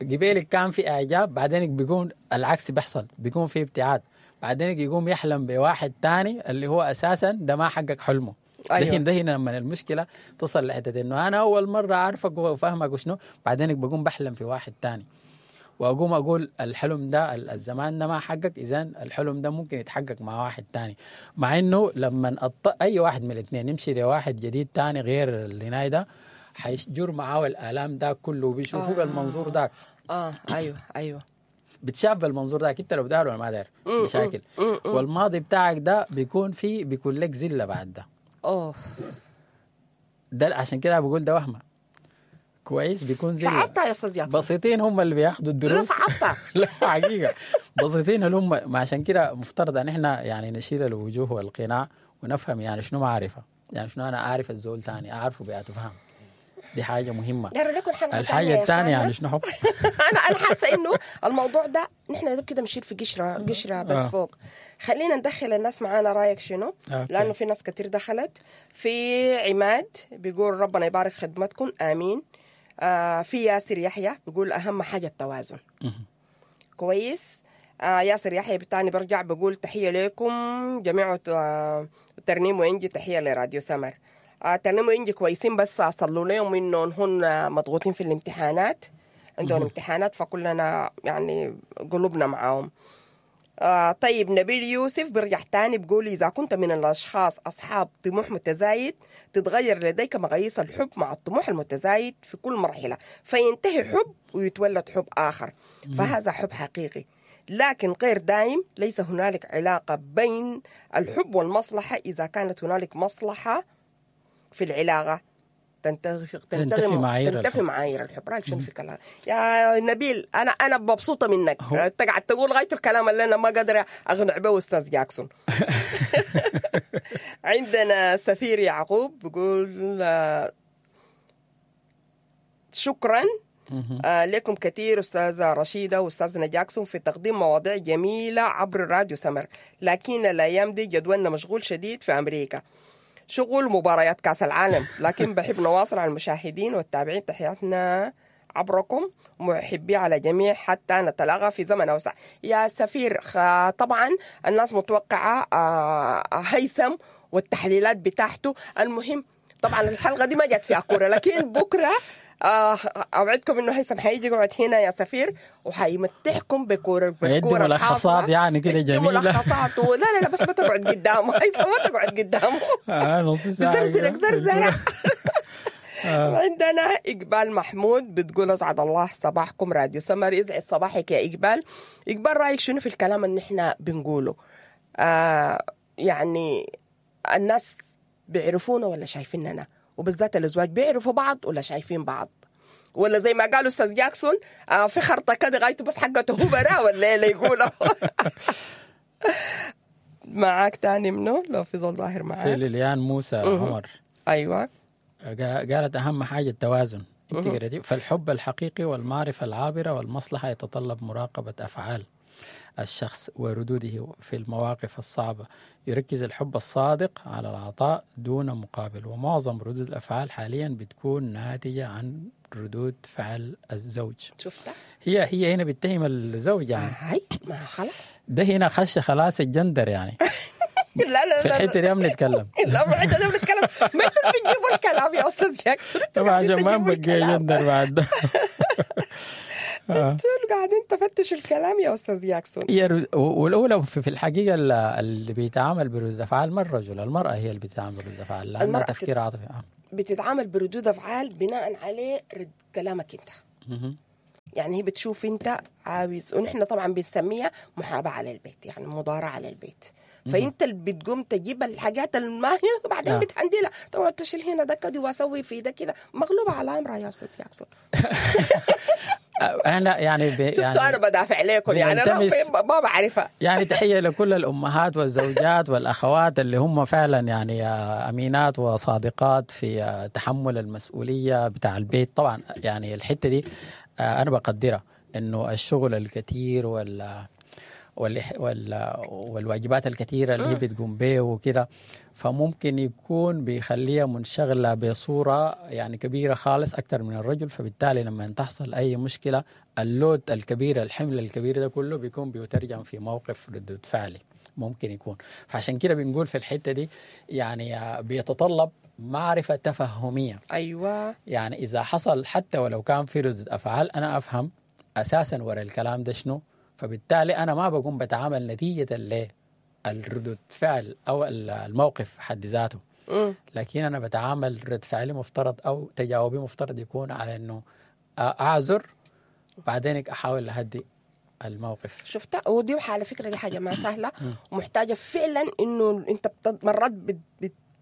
قبيلك كان في اعجاب، بعدين بيكون العكس بيحصل، بيكون في ابتعاد، بعدين يقوم يحلم بواحد تاني اللي هو اساسا ده ما حقق حلمه. أيوة. ده هنا ده هنا لما المشكلة تصل لحته انه انا اول مرة اعرفك وفاهمك وشنو، بعدين بقوم بحلم في واحد تاني واقوم اقول الحلم ده ال- الزمان ده ما حقق، اذا الحلم ده ممكن يتحقق مع واحد تاني. مع انه لما أط... اي واحد من الاثنين يمشي لواحد جديد تاني غير اللي هناي ده، حيجر معاه الالام ده كله وبيشوفوه آه. بالمنظور ذاك. اه ايوه ايوه بتشاف بالمنظور ذاك انت لو داير ولا ما داير مشاكل. والماضي بتاعك ده بيكون فيه بيكون لك زلة بعد ده. اوه ده عشان كده بقول ده وهمه كويس، بيكون زلة. صعبتها يا استاذ ياكسون. بسيطين هم اللي بياخدوا لا الدروس. صعبتها. لا حقيقة بسيطين اللي هم، ما عشان كده مفترض ان احنا يعني نشيل الوجوه والقناع ونفهم يعني شنو معرفة، يعني شنو انا اعرف الزول ثاني، اعرفه بأتفهم، دي حاجة مهمة. داير لكم حلقة الحاجة تانية يا الثانية إخوانا. يعني شنو حب. انا انا حاسه انه الموضوع ده نحن يا دوب كده بنشيل في قشرة قشرة بس آه. فوق. خلينا ندخل الناس معانا، رايك شنو؟ okay. لانه في ناس كتير دخلت. في عماد بيقول ربنا يبارك خدمتكم، امين. آه في ياسر يحيى بيقول اهم حاجة التوازن. كويس. آه ياسر يحيى بتاني برجع بقول تحية لكم جميع آه ترنيم وإنجي، تحية لراديو سمر. آه ترنيم وإنجي كويسين، بس صلوا لهم إنهم هن مضغوطين في الامتحانات، عندهم امتحانات، فكلنا يعني قلوبنا معاهم. آه طيب نبيل يوسف برجع تاني بقول إذا كنت من الأشخاص أصحاب طموح متزايد تتغير لديك مقاييس الحب مع الطموح المتزايد في كل مرحلة، فينتهي حب ويتولد حب آخر، فهذا حب حقيقي لكن غير دائم. ليس هنالك علاقة بين الحب والمصلحة، إذا كانت هنالك مصلحة في العلاقة تنتفي تنتفي معايير تنتفي الحب. معايير الحب. رايك شنو في كلام يا نبيل؟ انا انا مبسوطة منك، هو- انت قاعد تقول غاية الكلام اللي انا ما قادرة اقنع به استاذ جاكسون. عندنا سفير يعقوب بيقول آه، شكرا آه لكم كثير أستاذة رشيدة وأستاذنا جاكسون في تقديم مواضيع جميلة عبر راديو سمر، لكن الأيام دي جدولنا مشغول شديد في أمريكا، شغل مباريات كأس العالم، لكن بحب نواصل على المشاهدين والتابعين. تحياتنا عبركم ومحبي على جميع حتى نتلاقى في زمن أوسع. يا سفير، خ- طبعا الناس متوقعة آه، هيثم والتحليلات بتاعته. المهم طبعا الحلقة دي ما جت فيها كورة، لكن بكرة آه، أوعدكم إنه هيثم حيجي يقعد هنا يا سفير وحيمتعكم بكورة يدي بالكورة ملخصات الحاصلة. يعني كده يدي جميلة. ملخصات و- لا لا لا، بس ما تقعد قدامه هيثم، ما تقعد قدامه، آه نص ساعة بزرزرك كده. زرزرة. عندنا إقبال محمود بتقول أسعد الله صباحكم راديو سمر. يسعد صباحك يا إقبال. إقبال رأيك شنو في الكلام اللي إحنا بنقوله؟ آه يعني الناس بيعرفونا ولا شايفيننا؟ وبالذات الأزواج بيعرفوا بعض ولا شايفين بعض؟ ولا زي ما قالوا أستاذ جاكسون آه في خرطة كده غايته بس حقته هو برا ولا إيه اللي يقوله؟ معاك تاني منه لو في زول ظاهر في معاك. ليليان موسى عمر أيوة. قا- قالت أهم حاجة التوازن. انت قريتي فالحب الحقيقي والمعرفة العابرة والمصلحة يتطلب مراقبة أفعال. الشخص وردوده في المواقف الصعبة. يركز الحب الصادق على العطاء دون مقابل، ومعظم ردود الأفعال حاليا بتكون ناتجة عن ردود فعل الزوج. شفتها؟ هي هي هنا بتهم الزوج يعني. هاي ما خلاص ده هنا خش خلاص الجندر يعني. لا لا في لا الحتة دي بنتكلم. لا ما انت بنتكلم، ما انتوا اللي بتجيبوا الكلام يا استاذ جاكسون. طبعا عشان ما نبقى جندر بعد ده. انتوا اللي قاعدين تفتشوا الكلام يا استاذ جاكسون. والاولى في الحقيقة اللي بيتعامل بردود افعال ما الرجل، المراة هي اللي بتتعامل بردود افعال، لانها تفكير عاطفي. بتتعامل بردود افعال بناء عليه رد كلامك انت. يعني هي بتشوف انت عاوز، ونحن طبعا بنسميها محاباة على البيت، يعني مضارعه على البيت. فانت اللي بتقوم تجيب الحاجات الماهيه وبعدين آه. بتهندلها، تقعد تشيل هنا ده كده واسوي في ده كده، مغلوبه على امرها يا استاذ جاكسون. انا يعني ب... شفتوا يعني انا بدافع لكم يعني انا ما بعرفها. يعني تحية لكل الامهات والزوجات والاخوات اللي هم فعلا يعني امينات وصادقات في تحمل المسؤولية بتاع البيت. طبعا يعني الحتة دي انا بقدرها، انه الشغل الكثير وال والواجبات الكثيرة اللي هي بتقوم به وكده، فممكن يكون بيخليها منشغلة بصورة يعني كبيرة خالص أكثر من الرجل. فبالتالي لما تحصل أي مشكلة اللود الكبير، الحمل الكبير ده كله بيكون بيترجم في موقف ردود فعلي ممكن يكون. فعشان كده بنقول في الحتة دي يعني بيتطلب معرفة تفهمية. أيوة، يعني إذا حصل حتى ولو كان في ردود أفعال أنا أفهم أساسا وراء الكلام ده شنو، فبالتالي أنا ما بقوم بتعامل نتيجة للردود فعل أو الموقف حد ذاته، لكن أنا بتعامل رد فعلي مفترض أو تجاوبي مفترض يكون على أنه أعذر بعدين أحاول أهدي الموقف. شفتها؟ ودي على فكرة دي حاجة ما سهلة ومحتاجة فعلا إنه أنت مرات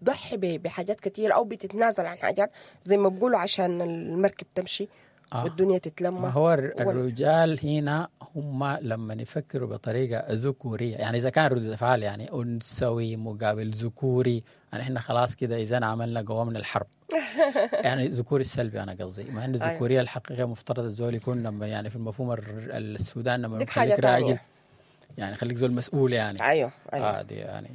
بتضحي بحاجات كتير أو بتتنازل عن حاجات زي ما بيقولوا عشان المركب تمشي. آه. والدنيا تتلم. هو الرجال هنا هم لما يفكروا بطريقة ذكورية، يعني إذا كان ردود أفعال يعني أنثوي مقابل ذكوري، يعني إحنا خلاص كده إذا عملنا قوامنا الحرب. يعني ذكوري السلبي أنا قصدي، مع إنه الذكورية الحقيقية مفترض الزول يكون لما يعني في المفهوم السودان لما يخليك راجل يعني خليك زول مسؤول يعني. أيوه أيوه. آه دي يعني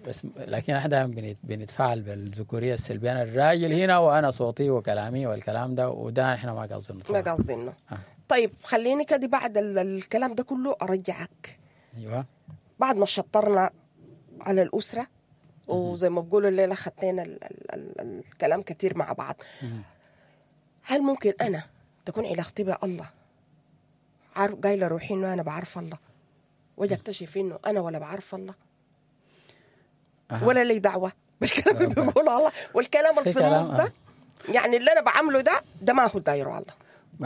بس، لكن احنا دائما بنتفاعل بالذكوريه السلبية، انا الراجل هنا وانا صوتي وكلامي والكلام ده، وده احنا ما قصدنا. ما قصدنا. آه. طيب خليني كده بعد الكلام ده كله ارجعك. ايوه. بعد ما شطرنا على الاسرة وزي ما بقولوا الليلة خدتنا ال ال ال الكلام كتير مع بعض. مم. هل ممكن انا تكون علاقتي بالله عارف قايله روحي انه انا بعرف الله، واجي اكتشف انه انا ولا بعرف الله أه. ولا لي دعوه بالكلام اللي بيقوله الله والكلام اللي في النص ده، يعني اللي انا بعمله ده ده ما هو دايرة الله.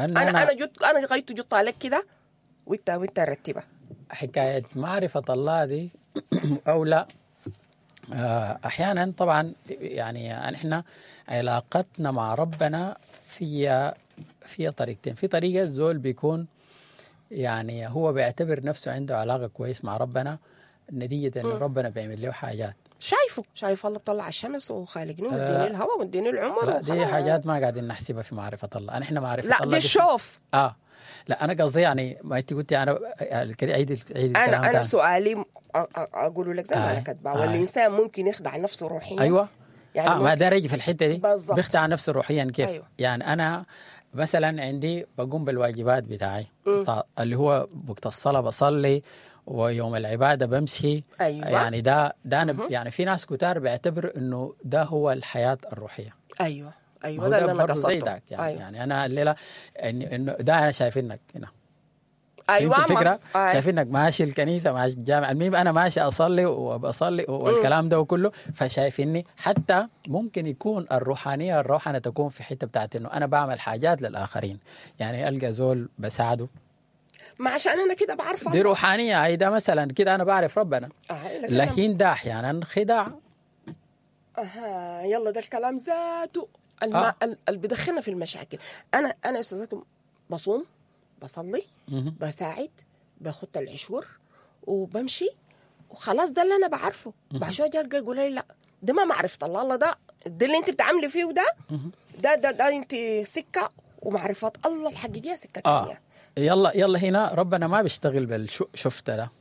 انا انا انا جت انا غايته جت عليك كده وانت وانت رتبها. حكاية معرفة الله دي او لا، احيانا طبعا يعني احنا علاقتنا مع ربنا فيها فيها طريقتين. في طريقه الزول بيكون يعني هو بيعتبر نفسه عنده علاقة كويس مع ربنا نتيجة انه ربنا بيعمل له حاجات. شايفه شايف الله بطلع الشمس وخالقني ومديني الهواء ومديني العمر. دي حاجات ما قاعدين نحسبها في معرفة الله. احنا معرفة لا الله دي الشوف. اه لا انا قصدي يعني ما انت قلتي انا عيد عيد انا انا سؤالي اقوله لك زي ما انا كاتبه، والانسان ممكن يخدع نفسه روحيا. ايوه يعني آه ما ده رجي في الحتة دي بالظبط، بيخدع نفسه روحيا كيف؟ أيوة. يعني انا مثلا عندي بقوم بالواجبات بتاعي اللي هو وقت الصلاة بصلي ويوم العبادة بمشي. أيوة. يعني ده ده أنا يعني في ناس كتار بيعتبر إنه ده هو الحياة الروحية. أيوة أيوة ده اللي أنا قصدته. زي داك يعني. أيوة. يعني أنا الليلة إنه ده أنا شايفينك هنا. أيوة الفكرة؟ أيوة. شايفينك ماشي الكنيسة ماشي الجامع، المهم أنا ماشي أصلي وبصلي والكلام ده كله، فشايفيني. حتى ممكن يكون الروحانية الروحانة تكون في حتة بتاعت إنه أنا بعمل حاجات للآخرين، يعني ألقى زول بساعده ما عشان أنا كده بعرف دي روحانية أيضا مثلا كده أنا بعرف ربنا. آه لكن ده أحيانا خداع. أها يلا ده الكلام ذاته الم... آه. اللي بدخلنا في المشاكل. أنا أنا أستاذكم بصوم بصلي بساعد باخد العشور وبمشي وخلاص، ده اللي أنا بعرفه. بعد شوية جاي يقول لي لا ده ما معرفة الله، الله ده ده اللي أنت بتعملي فيه وده ده ده ده أنت سكة ومعرفة الله الحقيقية سكة آه. ثانية. يلا يلا هنا ربنا ما بيشتغل بالشفت ده.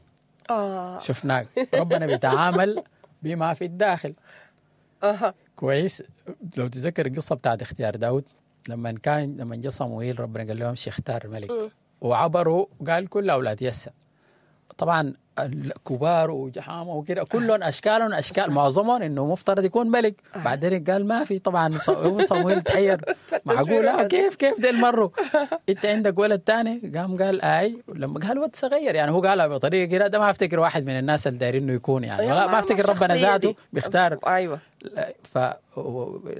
آه. شفناك. ربنا بيتعامل بما في الداخل. أه. كويس. لو تذكر القصة بتاعت اختيار داود، لما كان لما جاء صموئيل ربنا قال لهم امشي اختار ملك، م. وعبروا قال كل اولاد يسى، طبعا الكبار وجحامه وكده كلهم اشكالهم اشكال، معظمهم انه مفترض يكون ملك. بعدين قال ما في. طبعا صموئيل تحير، معقولة كيف كيف ديل مروا، انت عندك ولد تاني؟ قام قال اي. لما قال ولد صغير يعني هو قالها بطريقة كده، ده ما افتكر واحد من الناس اللي دايرين انه يكون يعني، ولا ما افتكر ربنا ذاته بيختار. ايوه.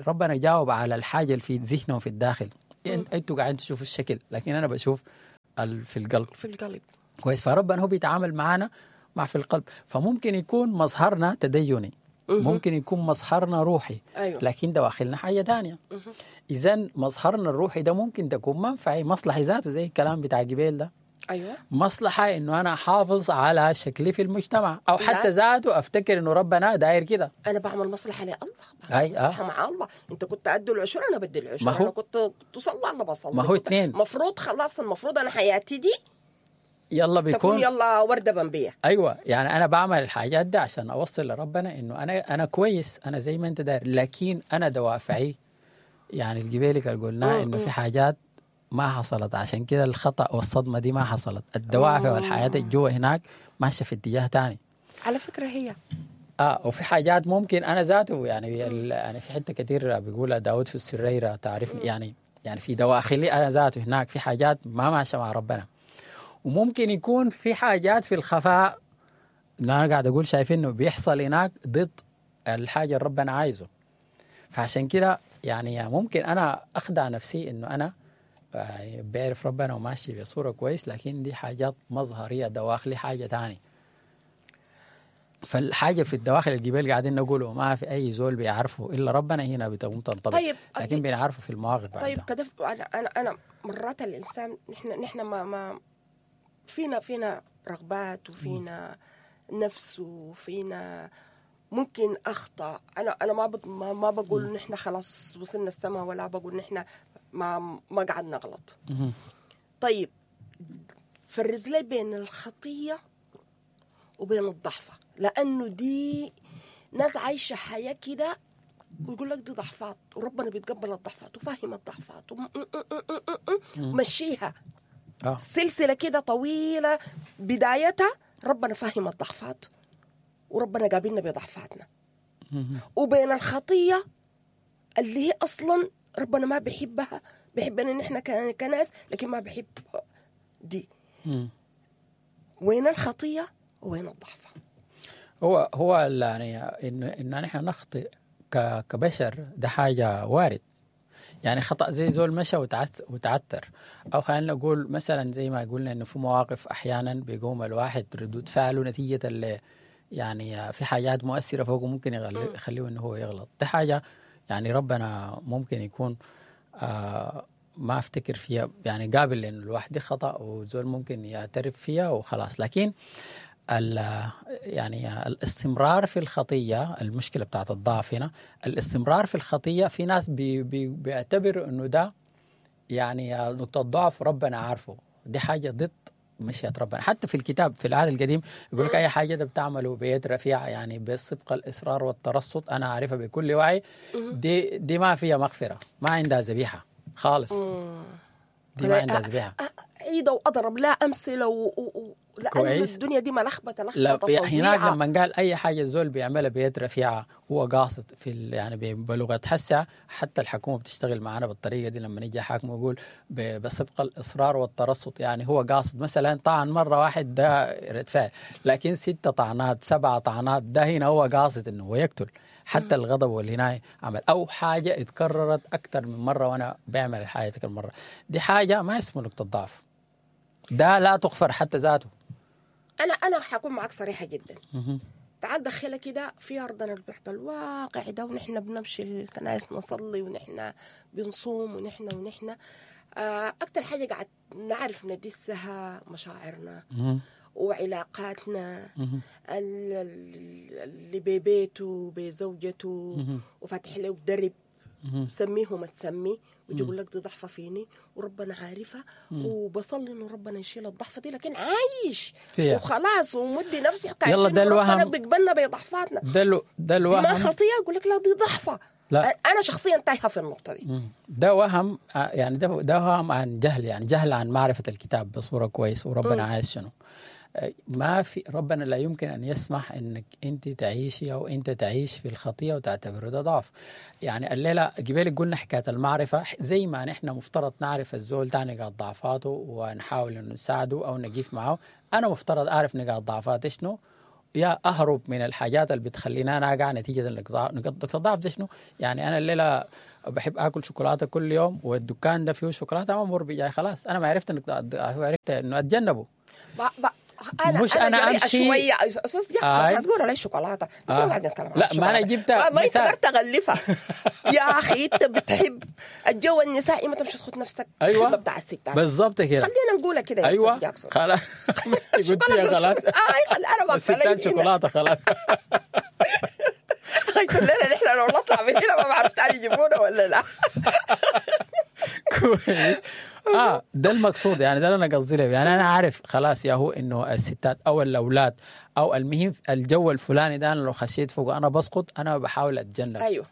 فربنا جاوب على الحاجة اللي في ذهنه في الداخل. انتوا قاعدين تشوفوا الشكل، لكن انا بشوف في القلب. في القلب. كويس. فربنا هو بيتعامل معانا مع في القلب. فممكن يكون مظهرنا تديني، ممكن يكون مظهرنا روحي، أيوة. لكن دواخلنا حاجة تانية. إذن مظهرنا الروحي ده ممكن تكون منفعي، مصلحة ذاته زي الكلام بتاع جبيل ده. أيوة. مصلحة إنه أنا حافظ على شكلي في المجتمع، أو حتى ذاته أفتكر إنه ربنا داير كده. أنا بعمل مصلحة لله، بعمل مصلحة آه. مع الله. أنت كنت أدي العشور أنا بدي العشور، أنا كنت تصلي أنا بصلي. ما هو اتنين مفروض، خلاص المفروض أنا حياتي دي يلا بيكون يلا وردة بمبية. أيوة. يعني أنا بعمل الحاجات دي عشان أوصل لربنا إنه أنا أنا كويس، أنا زي ما أنت داير، لكن أنا دوافعي يعني الجبالك اللي قلناه إنه في حاجات ما حصلت، عشان كده الخطأ والصدمة دي ما حصلت. الدوافع والحياة الجوا هناك ماشية في اتجاه تاني. على فكرة هي آه وفي حاجات ممكن أنا ذاته يعني يعني في حتة كتير بيقولها داود في السريرة تعرفني، يعني يعني في دواخلي أنا ذاته هناك في حاجات ما ماشية مع ربنا. وممكن يكون في حاجات في الخفاء اللي أنا قاعد أقول شايفين إنه بيحصل هناك ضد الحاجة اللي ربنا عايزه. فعشان كده يعني ممكن أنا أخدع نفسي إنه أنا يعني بعرف ربنا وماشي بصورة كويس، لكن دي حاجات مظهرية، دواخلي حاجة تاني. فالحاجة في الدواخل الجبال قاعدين نقوله ما في أي زول بيعرفه إلا ربنا، هنا بتقوم تنطبق. طيب، لكن بنعرفه في المواقف. طيب كده أنا أنا أنا مرات الإنسان نحن نحن ما ما فينا فينا رغبات وفينا نفس وفينا ممكن أخطأ. أنا أنا ما ما, ما بقول نحن خلاص وصلنا السماء، ولا بقول نحن ما ما قعدنا نغلط. طيب فرز لي بين الخطية وبين الضعفة، لأنه دي ناس عايشة حياة كده ويقول لك دي ضعفات، وربنا بيتقبل الضعفات وفاهم الضعفات ومشيها آه. سلسلة كده طويلة بدايتها ربنا فاهم الضعفات وربنا قابلنا بضعفاتنا، وبين الخطية اللي هي أصلا ربنا ما بيحبها، بيحبنا نحن كناس لكن ما بيحب دي. مم. وين الخطية وين الضعفة؟ هو هو يعني إن إن نحن نخطئ كبشر ده حاجة وارد. يعني خطأ زي زول مشى وتعتر، أو خلينا نقول مثلا زي ما قلنا إنه في مواقف أحيانا بيقوم الواحد ردود فعله نتيجة اللي يعني في حاجات مؤثرة فوقه ممكن يخليه إنه هو يغلط. ده حاجة يعني ربنا ممكن يكون آه ما أفتكر فيها، يعني قابل إنه الواحد خطأ وزول ممكن يعترف فيها وخلاص. لكن يعني الاستمرار في الخطية، المشكلة بتاعت الضعف هنا الاستمرار في الخطية. في ناس بي بي بيعتبروا إنه ده يعني نقطة ضعف ربنا عارفه، دي حاجة ضد مشيئة ربنا. حتى في الكتاب في العهد القديم يقول لك أي حاجة ده بتعمله بيد رفيعة، يعني بالسبق الإصرار والترصد، أنا عارفها بكل وعي، دي دي ما فيها مغفرة، ما عندها ذبيحة خالص، دي ما عندها ذبيحة. عيدة وأضرب لا أمثلة و... و... لأن الدنيا دي ملخبطة لخبطة فظيعة. هناك لما قال أي حاجة الزول بيعملها بيد رفيعة هو قاصد في ال... يعني بلغة حسة. حتى الحكومة بتشتغل معنا بالطريقة دي، لما نيجي حاكم يقول ب... بسبق الإصرار والترصد، يعني هو قاصد مثلا طعن مرة واحد ده رد فعل، لكن ستة طعنات سبعة طعنات ده هنا هو قاصد إنه هو يقتل. حتى الغضب والهناية عمل أو حاجة اتكررت أكثر من مرة وأنا بعمل الحاجة تلك المرة، دي حاجة ما اسمه نقطة ضعف، ده لا تغفر حتى ذاته. أنا أنا حكون معك صريحة جدا. تعال دخلها كده في أرضنا البحث الواقع ده، ونحن بنمشي الكنائس نصلي ونحن بنصوم ونحن ونحن أكتر حاجة قاعد نعرف ندسها مشاعرنا وعلاقاتنا، اللي ببيته بزوجته وفاتح له درب، سميه ما تسميه، ويجي يقول لك دي ضعفه فيني وربنا عارفها وبصلي انه ربنا يشيل الضعفه دي، لكن عايش فيها. وخلاص ومدي نفسه حكاية يلا ده إنه ربنا الوهم. بيقبلنا بضعفاتنا. ده الو- ده دي ما الوهم. خطيه؟ يقول لك لا دي ضعفه. لا. انا شخصيا تايهه في النقطة دي. مم. ده وهم، آه، يعني ده ده وهم عن جهل، يعني جهل عن معرفة الكتاب بصورة كويس وربنا عايز شنو. آه، ما في ربنا لا يمكن أن يسمح أنك أنت تعيشي أو أنت تعيش في الخطية وتعتبره ده ضعف. يعني الليلة قبل قلنا حكاية المعرفة، زي ما نحن مفترض نعرف الزول ده نقاط ضعفاته ونحاول إنه نساعده أو نقيف معه، أنا مفترض أعرف نقاط ضعفاتي شنو، يا اهرب من الحاجات اللي بتخليني انا اقع نتيجة لنقاط نقاط الضعف دي شنو. يعني انا الليلة بحب اكل شوكولاتة كل يوم والدكان ده فيه شوكولاتة ما مر بيجاي، خلاص انا ما عرفت نقاط الضعف، عرفت انه اتجنبه. ب... ب... انا مش أنا جريئة أمشي- شوية استاذ جاكسون آي. هتقول علي شوكولاتة. نحن آه. قاعدين نتكلم عن لا، ما أنا الشوكولاتة. جبتها ما ما انت مثال. قدرت تغلفها يا اخي. انت بتحب الجو النسائي، ما تمشي تخد نفسك ايوه الخدمة بتاع الستات. بالظبط كده، خلينا نقولها كده يا ايوه استاذ جاكسون. خلاص قلت خلاص اي خل انا واقفة لي الستات هنا. شوكولاتة خلاص. قلت لنا نحن لو نطلع من هنا ما بعرف تعالي يجيبونا ولا لا. كويس. اه ده المقصود، يعني ده اللي انا قصدي له. يعني انا عارف خلاص يا هو انه الستات او الاولاد او المهم الجو الفلاني ده انا لو خشيت فوق انا بسقط، انا بحاول اتجنب. ايوه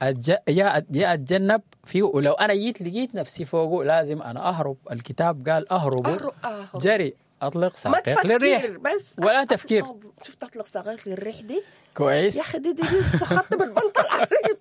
أتج... يا يا اتجنب فيه، ولو انا جيت لقيت نفسي فوقه لازم انا اهرب. الكتاب قال اهربوا، أهرب- أهرب. جري اطلق ما ساقيك للريح تفكر بس ولا تفكير. شفت اطلق ساقيك للريح دي كويس يا اخي، دي دي, دي خط بالبلطه العريض.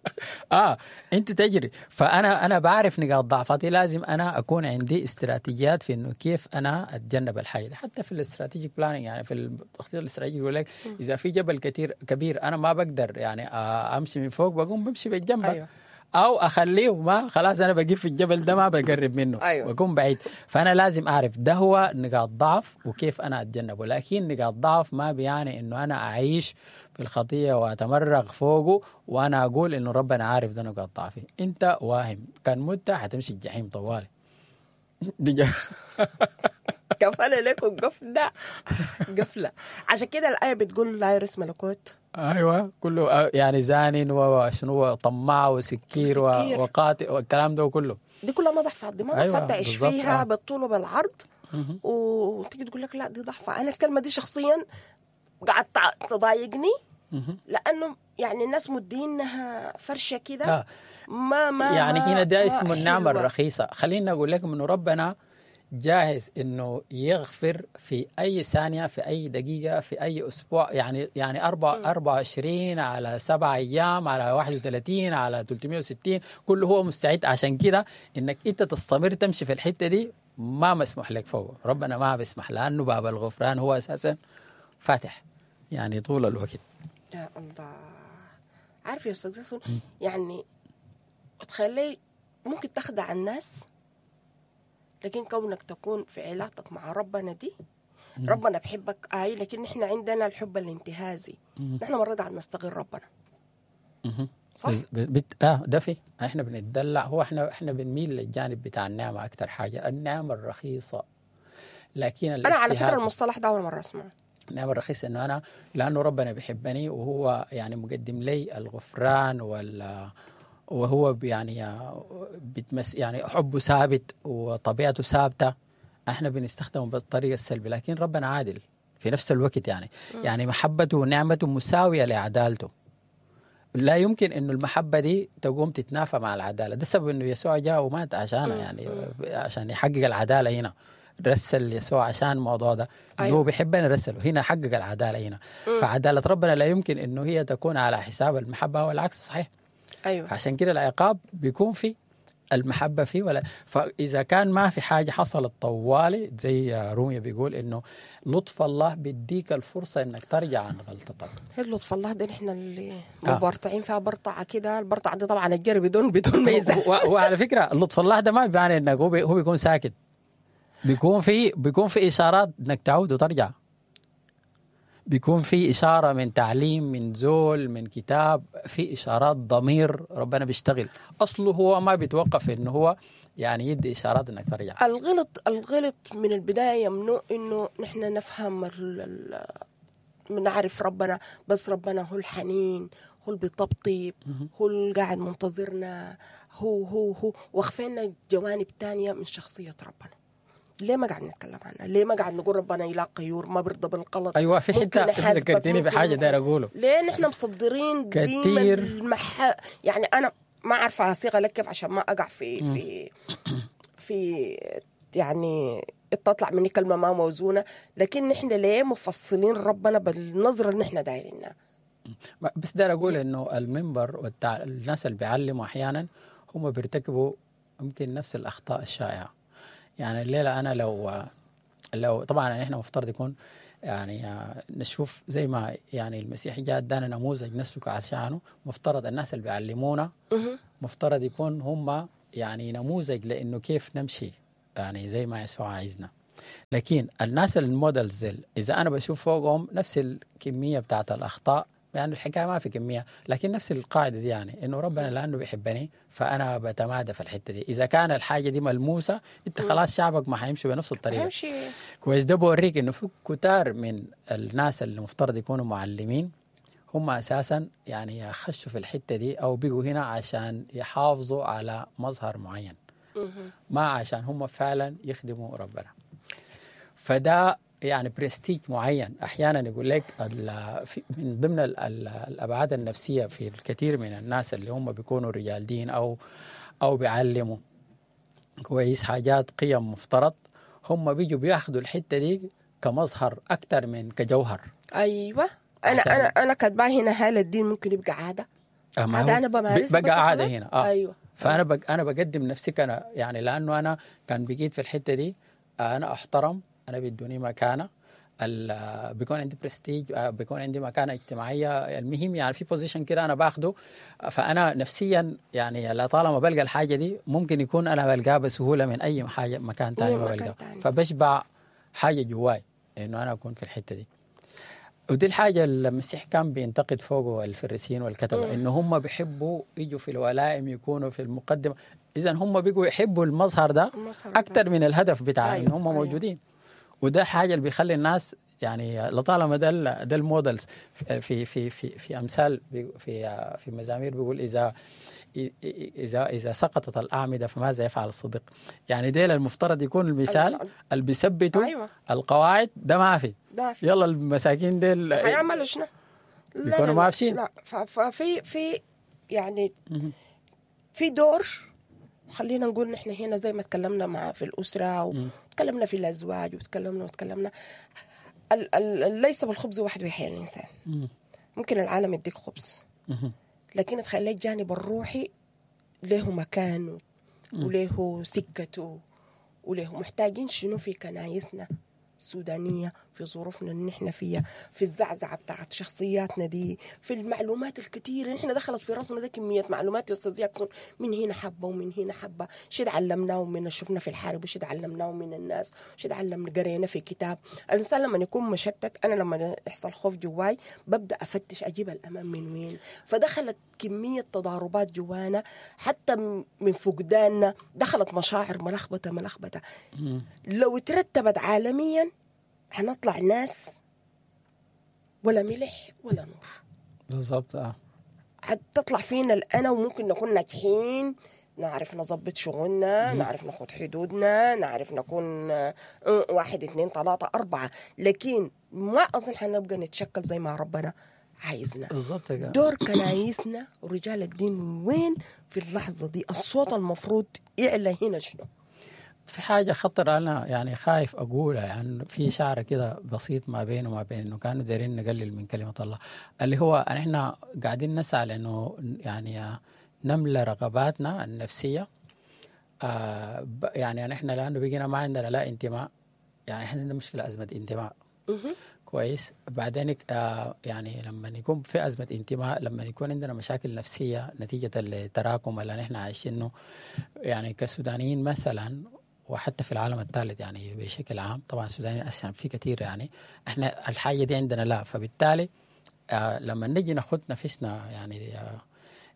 اه انت تجري. فانا انا بعرف نقاط ضعفاتي، لازم انا اكون عندي استراتيجيات في انه كيف انا اتجنب الحاجة دي. حتى في ال strategic planning، يعني في التخطيط الاستراتيجي يقول لك اذا في جبل كثير كبير انا ما بقدر يعني آه، امشي من فوق، بقوم بمشي بالجنب. أيوة. او اخليه ما خلاص انا بقيف في الجبل ده ما بقرب منه. أيوة. بكون بعيد. فانا لازم اعرف ده هو نقاط ضعف وكيف انا اتجنبه. لكن نقاط ضعف ما بيعني انه انا اعيش في الخطية واتمرغ فوقه وانا اقول انه ربنا عارف ده نقاط ضعفي. انت واهم، كان مت حتمشي الجحيم طوالي. دي جا- قفل لكم قفله قفله. عشان كده الايه بتقول لا يرث ملكوت. ايوه كله يعني زان وشنو طماع وسكير و- وسكير. وقاتل والكلام ده كله. دي كلها ما ضعفات، دي ما أيوة، ضعفات تعيش بالظبط، فيها آه. بالطول وبالعرض. وتيجي تقول لك لا دي ضعفة. انا الكلمة دي شخصيا قعدت تضايقني، لانه يعني الناس مدينها فرشه كده. آه. ما ما يعني ما هنا ده ما اسمه النعمة حلوة. الرخيصة. خلينا أقول لكم إنه ربنا جاهز إنه يغفر في أي ثانية، في أي دقيقة، في أي أسبوع. يعني يعني أربع أربعة وعشرين على سبعة أيام على واحد وثلاثين على ثلاثمية وستين، كله هو مستعد. عشان كده إنك أنت تستمر تمشي في الحتة دي ما مسموح لك فوق، ربنا ما بيسمح، لأنه باب الغفران هو أساسا فاتح يعني طول الوقت. يا الله، عارف يا استاذ جاسون، يعني تخلي ممكن تخدع الناس، لكن كونك تكون في علاقتك مع ربنا دي، ربنا بحبك اي، لكن احنا عندنا الحب الانتهازي. نحن مرات قاعد نستغل ربنا. مهم. صح؟ بس- بت... اه ده في احنا بنتدلع، هو احنا احنا بنميل للجانب بتاع النعمة اكثر حاجة، النعمة الرخيصة. لكن انا على فكرة الاجتهاد- المصطلح ده اول مرة اسمعه. النعمة الرخيصة انه انا لانه ربنا بيحبني وهو يعني مقدم لي الغفران وال وهو يعني بتمس يعني حبه ثابت وطبيعته ثابتة، احنا بنستخدمه بالطريقة السلبية. لكن ربنا عادل في نفس الوقت، يعني يعني محبته ونعمته مساوية لعدالته. لا يمكن انه المحبة دي تقوم تتنافى مع العدالة. ده السبب انه يسوع جاء ومات عشانها، يعني عشان يحقق العدالة هنا. رسل يسوع عشان الموضوع ده، انه أيوة. هو بيحبنا رسله هنا، حقق العدالة هنا. فعداله ربنا لا يمكن انه هي تكون على حساب المحبة، والعكس صحيح. ايوه عشان كده العقاب بيكون في المحبة فيه ولا. فاذا كان ما في حاجة حصلت طوالي، زي روميا بيقول انه لطف الله بيديك الفرصة انك ترجع عن غلطتك. هي لطف الله ده نحن اللي آه. مبرطعين فيها برطعه كده. البرطعه دي طبعا الجري بدون بدون ميزة. و- وعلى فكرة لطف الله ده ما بيعني انك هو, بي هو بيكون ساكت، بيكون في بيكون في اشارات انك تعود وترجع. بيكون في اشارة من تعليم، من زول، من كتاب، في اشارات ضمير ربنا بيشتغل. اصله هو ما بيتوقف انه هو يعني يدي اشارات انك ترجع. الغلط الغلط من البداية ممنوع انه نحن نفهم ال- ال- نعرف ربنا، بس ربنا هو الحنين، هو اللي بيطبطب، هو اللي قاعد منتظرنا، هو هو هو واخفينا جوانب تانية من شخصية ربنا. ليه ما قاعد نتكلم عنها؟ ليه ما قاعد نقول ربنا إله غيور، ما بيرضى بالغلط؟ ايوه في ممكن حتة يحاسبك، ذكرتيني ممكن بحاجة داير اقوله. ليه نحن مصدرين ديما كتير. المح... يعني انا ما عارفه اصيغها لك كيف عشان ما اقع في في في يعني تطلع مني كلمة ما موزونة، لكن نحن ليه مفصلين ربنا بالنظرة اللي نحن دايرينها؟ بس داير اقول انه المنبر والتع... الناس اللي بيعلموا احيانا هم بيرتكبوا يمكن نفس الاخطاء الشائعة. يعني الليلة انا لو لو طبعا احنا مفترض يكون يعني نشوف زي ما يعني المسيح جاء ادانا نموذج نسلك عشانه، مفترض الناس اللي بيعلمونا مفترض يكون هم يعني نموذج لانه كيف نمشي يعني زي ما يسوع عايزنا. لكن الناس ال models اذا انا بشوف فوقهم نفس الكمية بتاعت الاخطاء، يعني الحكاية ما في كمية لكن نفس القاعدة دي، يعني انه ربنا لانه بيحبني فانا بتمادى في الحتة دي. اذا كان الحاجة دي ملموسة انت خلاص شعبك ما حيمشي بنفس الطريقة. حيمشي كويس. ده بوريك انه في كتار من الناس اللي المفترض يكونوا معلمين هم اساسا يعني خشوا في الحتة دي او بيجوا هنا عشان يحافظوا على مظهر معين، ما عشان هم فعلا يخدموا ربنا. فده يعني برستيج معين. احيانا يقول لك من ضمن الابعاد النفسية في الكثير من الناس اللي هم بيكونوا رجال دين او او بيعلموا كويس حاجات قيم مفترض، هم بيجوا بياخذوا الحتة دي كمظهر اكثر من كجوهر. ايوه انا انا انا كاتبه هنا هل الدين ممكن يبقى عادة؟ عادة انا بمارسها بقى عادة هنا. آه. ايوه فانا بق... انا بقدم نفسي كأنا يعني لانه انا كان بقيت في الحتة دي انا احترم، انا بيدوني مكانه، بيكون عندي برستيج، بيكون عندي مكانه اجتماعية، المهم يعني في position كده انا باخده. فانا نفسيا يعني لا طالما بلقى الحاجة دي ممكن يكون انا بلقاها بسهولة من اي حاجة مكان ثاني ما بلقاها، فبشبع حاجة جواي انه انا اكون في الحتة دي. ودي الحاجة اللي المسيح كان بينتقد فوقه الفريسيين والكتبه، انه هم بيحبوا يجوا في الولائم يكونوا في المقدمة. اذا هم بيجوا يحبوا المظهر ده اكثر من الهدف بتاع أيوة. ان هم أيوة. موجودين. وده الحاجة اللي بيخلي الناس يعني لطالما ده ده ال models في في في في امثال في في مزامير بيقول اذا اذا اذا سقطت الاعمدة فماذا يفعل الصديق؟ يعني ديل المفترض يكون المثال اللي بيثبتوا أيوة. القواعد ده ما في. يلا المساكين ديل هيعملوا شنو؟ يكونوا ما فيش. لا ففي في يعني في دور، خلينا نقول نحن هنا زي ما تكلمنا مع في الأسرة وتكلمنا في الأزواج وتكلمنا وتكلمنا ال ال ليس بالخبز وحده يحيا الإنسان. مم. ممكن العالم يديك خبز، مم. لكن تخلي الجانب الروحي له مكانه وله سكته وله محتاجين شنو في كنايسنا السودانية، في ظروفنا اللي نحن فيها، في الزعزعة بتاعت شخصياتنا دي، في المعلومات الكثيرة نحن دخلت في راسنا ده كمية معلومات يا أستاذ ياكسون، من هنا حبة ومن هنا حبة، شي تعلمناه ومن شفنا في الحرب، وشي تعلمناه من الناس، وشي تعلمنا قرينا في كتاب. الإنسان لما يكون مشتت، أنا لما يحصل خوف جواي ببدأ أفتش أجيب الأمان من وين، فدخلت كمية تضاربات جوانا حتى من فقداننا، دخلت مشاعر ملخبطة ملخبطة. لو ترتبت عالميا هنطلع ناس ولا ملح ولا نور. بالضبط. اه هتطلع فينا الأنا، وممكن نكون ناجحين، نعرف نظبط شغلنا، نعرف ناخد حدودنا، نعرف نكون واحد اثنين ثلاثة أربعة، لكن ما أظن حنبقى نتشكل زي ما ربنا عايزنا. بالضبط. دور كنايسنا ورجال الدين وين في اللحظة دي؟ الصوت المفروض يعلى هنا شنو؟ في حاجة خطر أنا يعني خايف أقولها، يعني في شعر كده بسيط ما بينه وما بين إنه كانوا دايرين نقلل من كلمة الله، اللي هو إحنا قاعدين نسعى لأنه يعني نملى رغباتنا النفسية. آه يعني إحنا لأنه بقينا ما عندنا لا انتماء، يعني إحنا عندنا مشكلة أزمة انتماء. كويس. بعدين آه يعني لما يكون في أزمة انتماء، لما يكون عندنا مشاكل نفسية نتيجة التراكم اللي نحن عايشينه يعني كسودانيين مثلا، وحتى في العالم الثالث يعني بشكل عام، طبعا السودانيين عشان في كثير يعني احنا الحاجة دي عندنا لا، فبالتالي آه لما نجي ناخد نفسنا يعني آه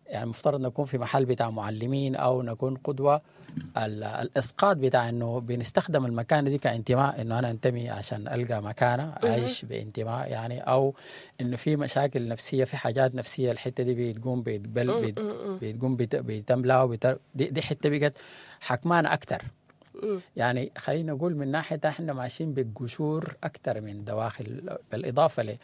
يعني المفترض نكون في محل بتاع معلمين او نكون قدوة، ال- الاسقاط بتاع انه بنستخدم المكانة دي كانتماء، انه انا انتمي عشان القى مكانه، اعيش بانتماء يعني، او انه في مشاكل نفسية، في حاجات نفسية الحتة دي بتقوم بتبل بت- بتقوم بت- بتملا وبت- دي, دي حتة بقت حكمانه اكثر. يعني خلينا نقول من ناحية احنا ماشيين بالقشور اكثر من دواخل، بالاضافة ل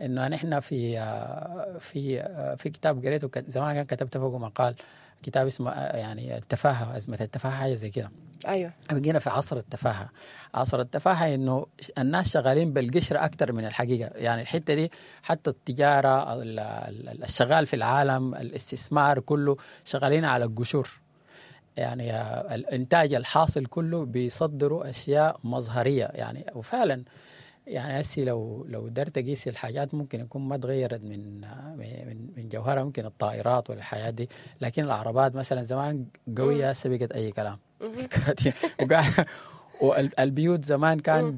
انه نحن في آه، في آه، في كتاب قريته كت- زمان كان كتبت فوقه مقال، كتاب اسمه آه، يعني التفاهة، ازمة التفاهة، حاجة زي كده. ايوه بقينا في عصر التفاهة. عصر التفاهة انه الناس شغالين بالقشره اكثر من الحقيقة. يعني الحتة دي حتى التجارة، ال- ال- الشغال في العالم، الاستثمار كله شغالين على القشور. يعني آه، الانتاج الحاصل كله بيصدروا اشياء مظهريه يعني. وفعلا يعني هسي لو لو قدرت تقيس الحاجات ممكن يكون ما تغيرت من من من جوهرها، ممكن الطائرات ولا الحياة دي، لكن العربات مثلا زمان قوية، هسه بقت اي كلام. وقاعد- والبيوت زمان كان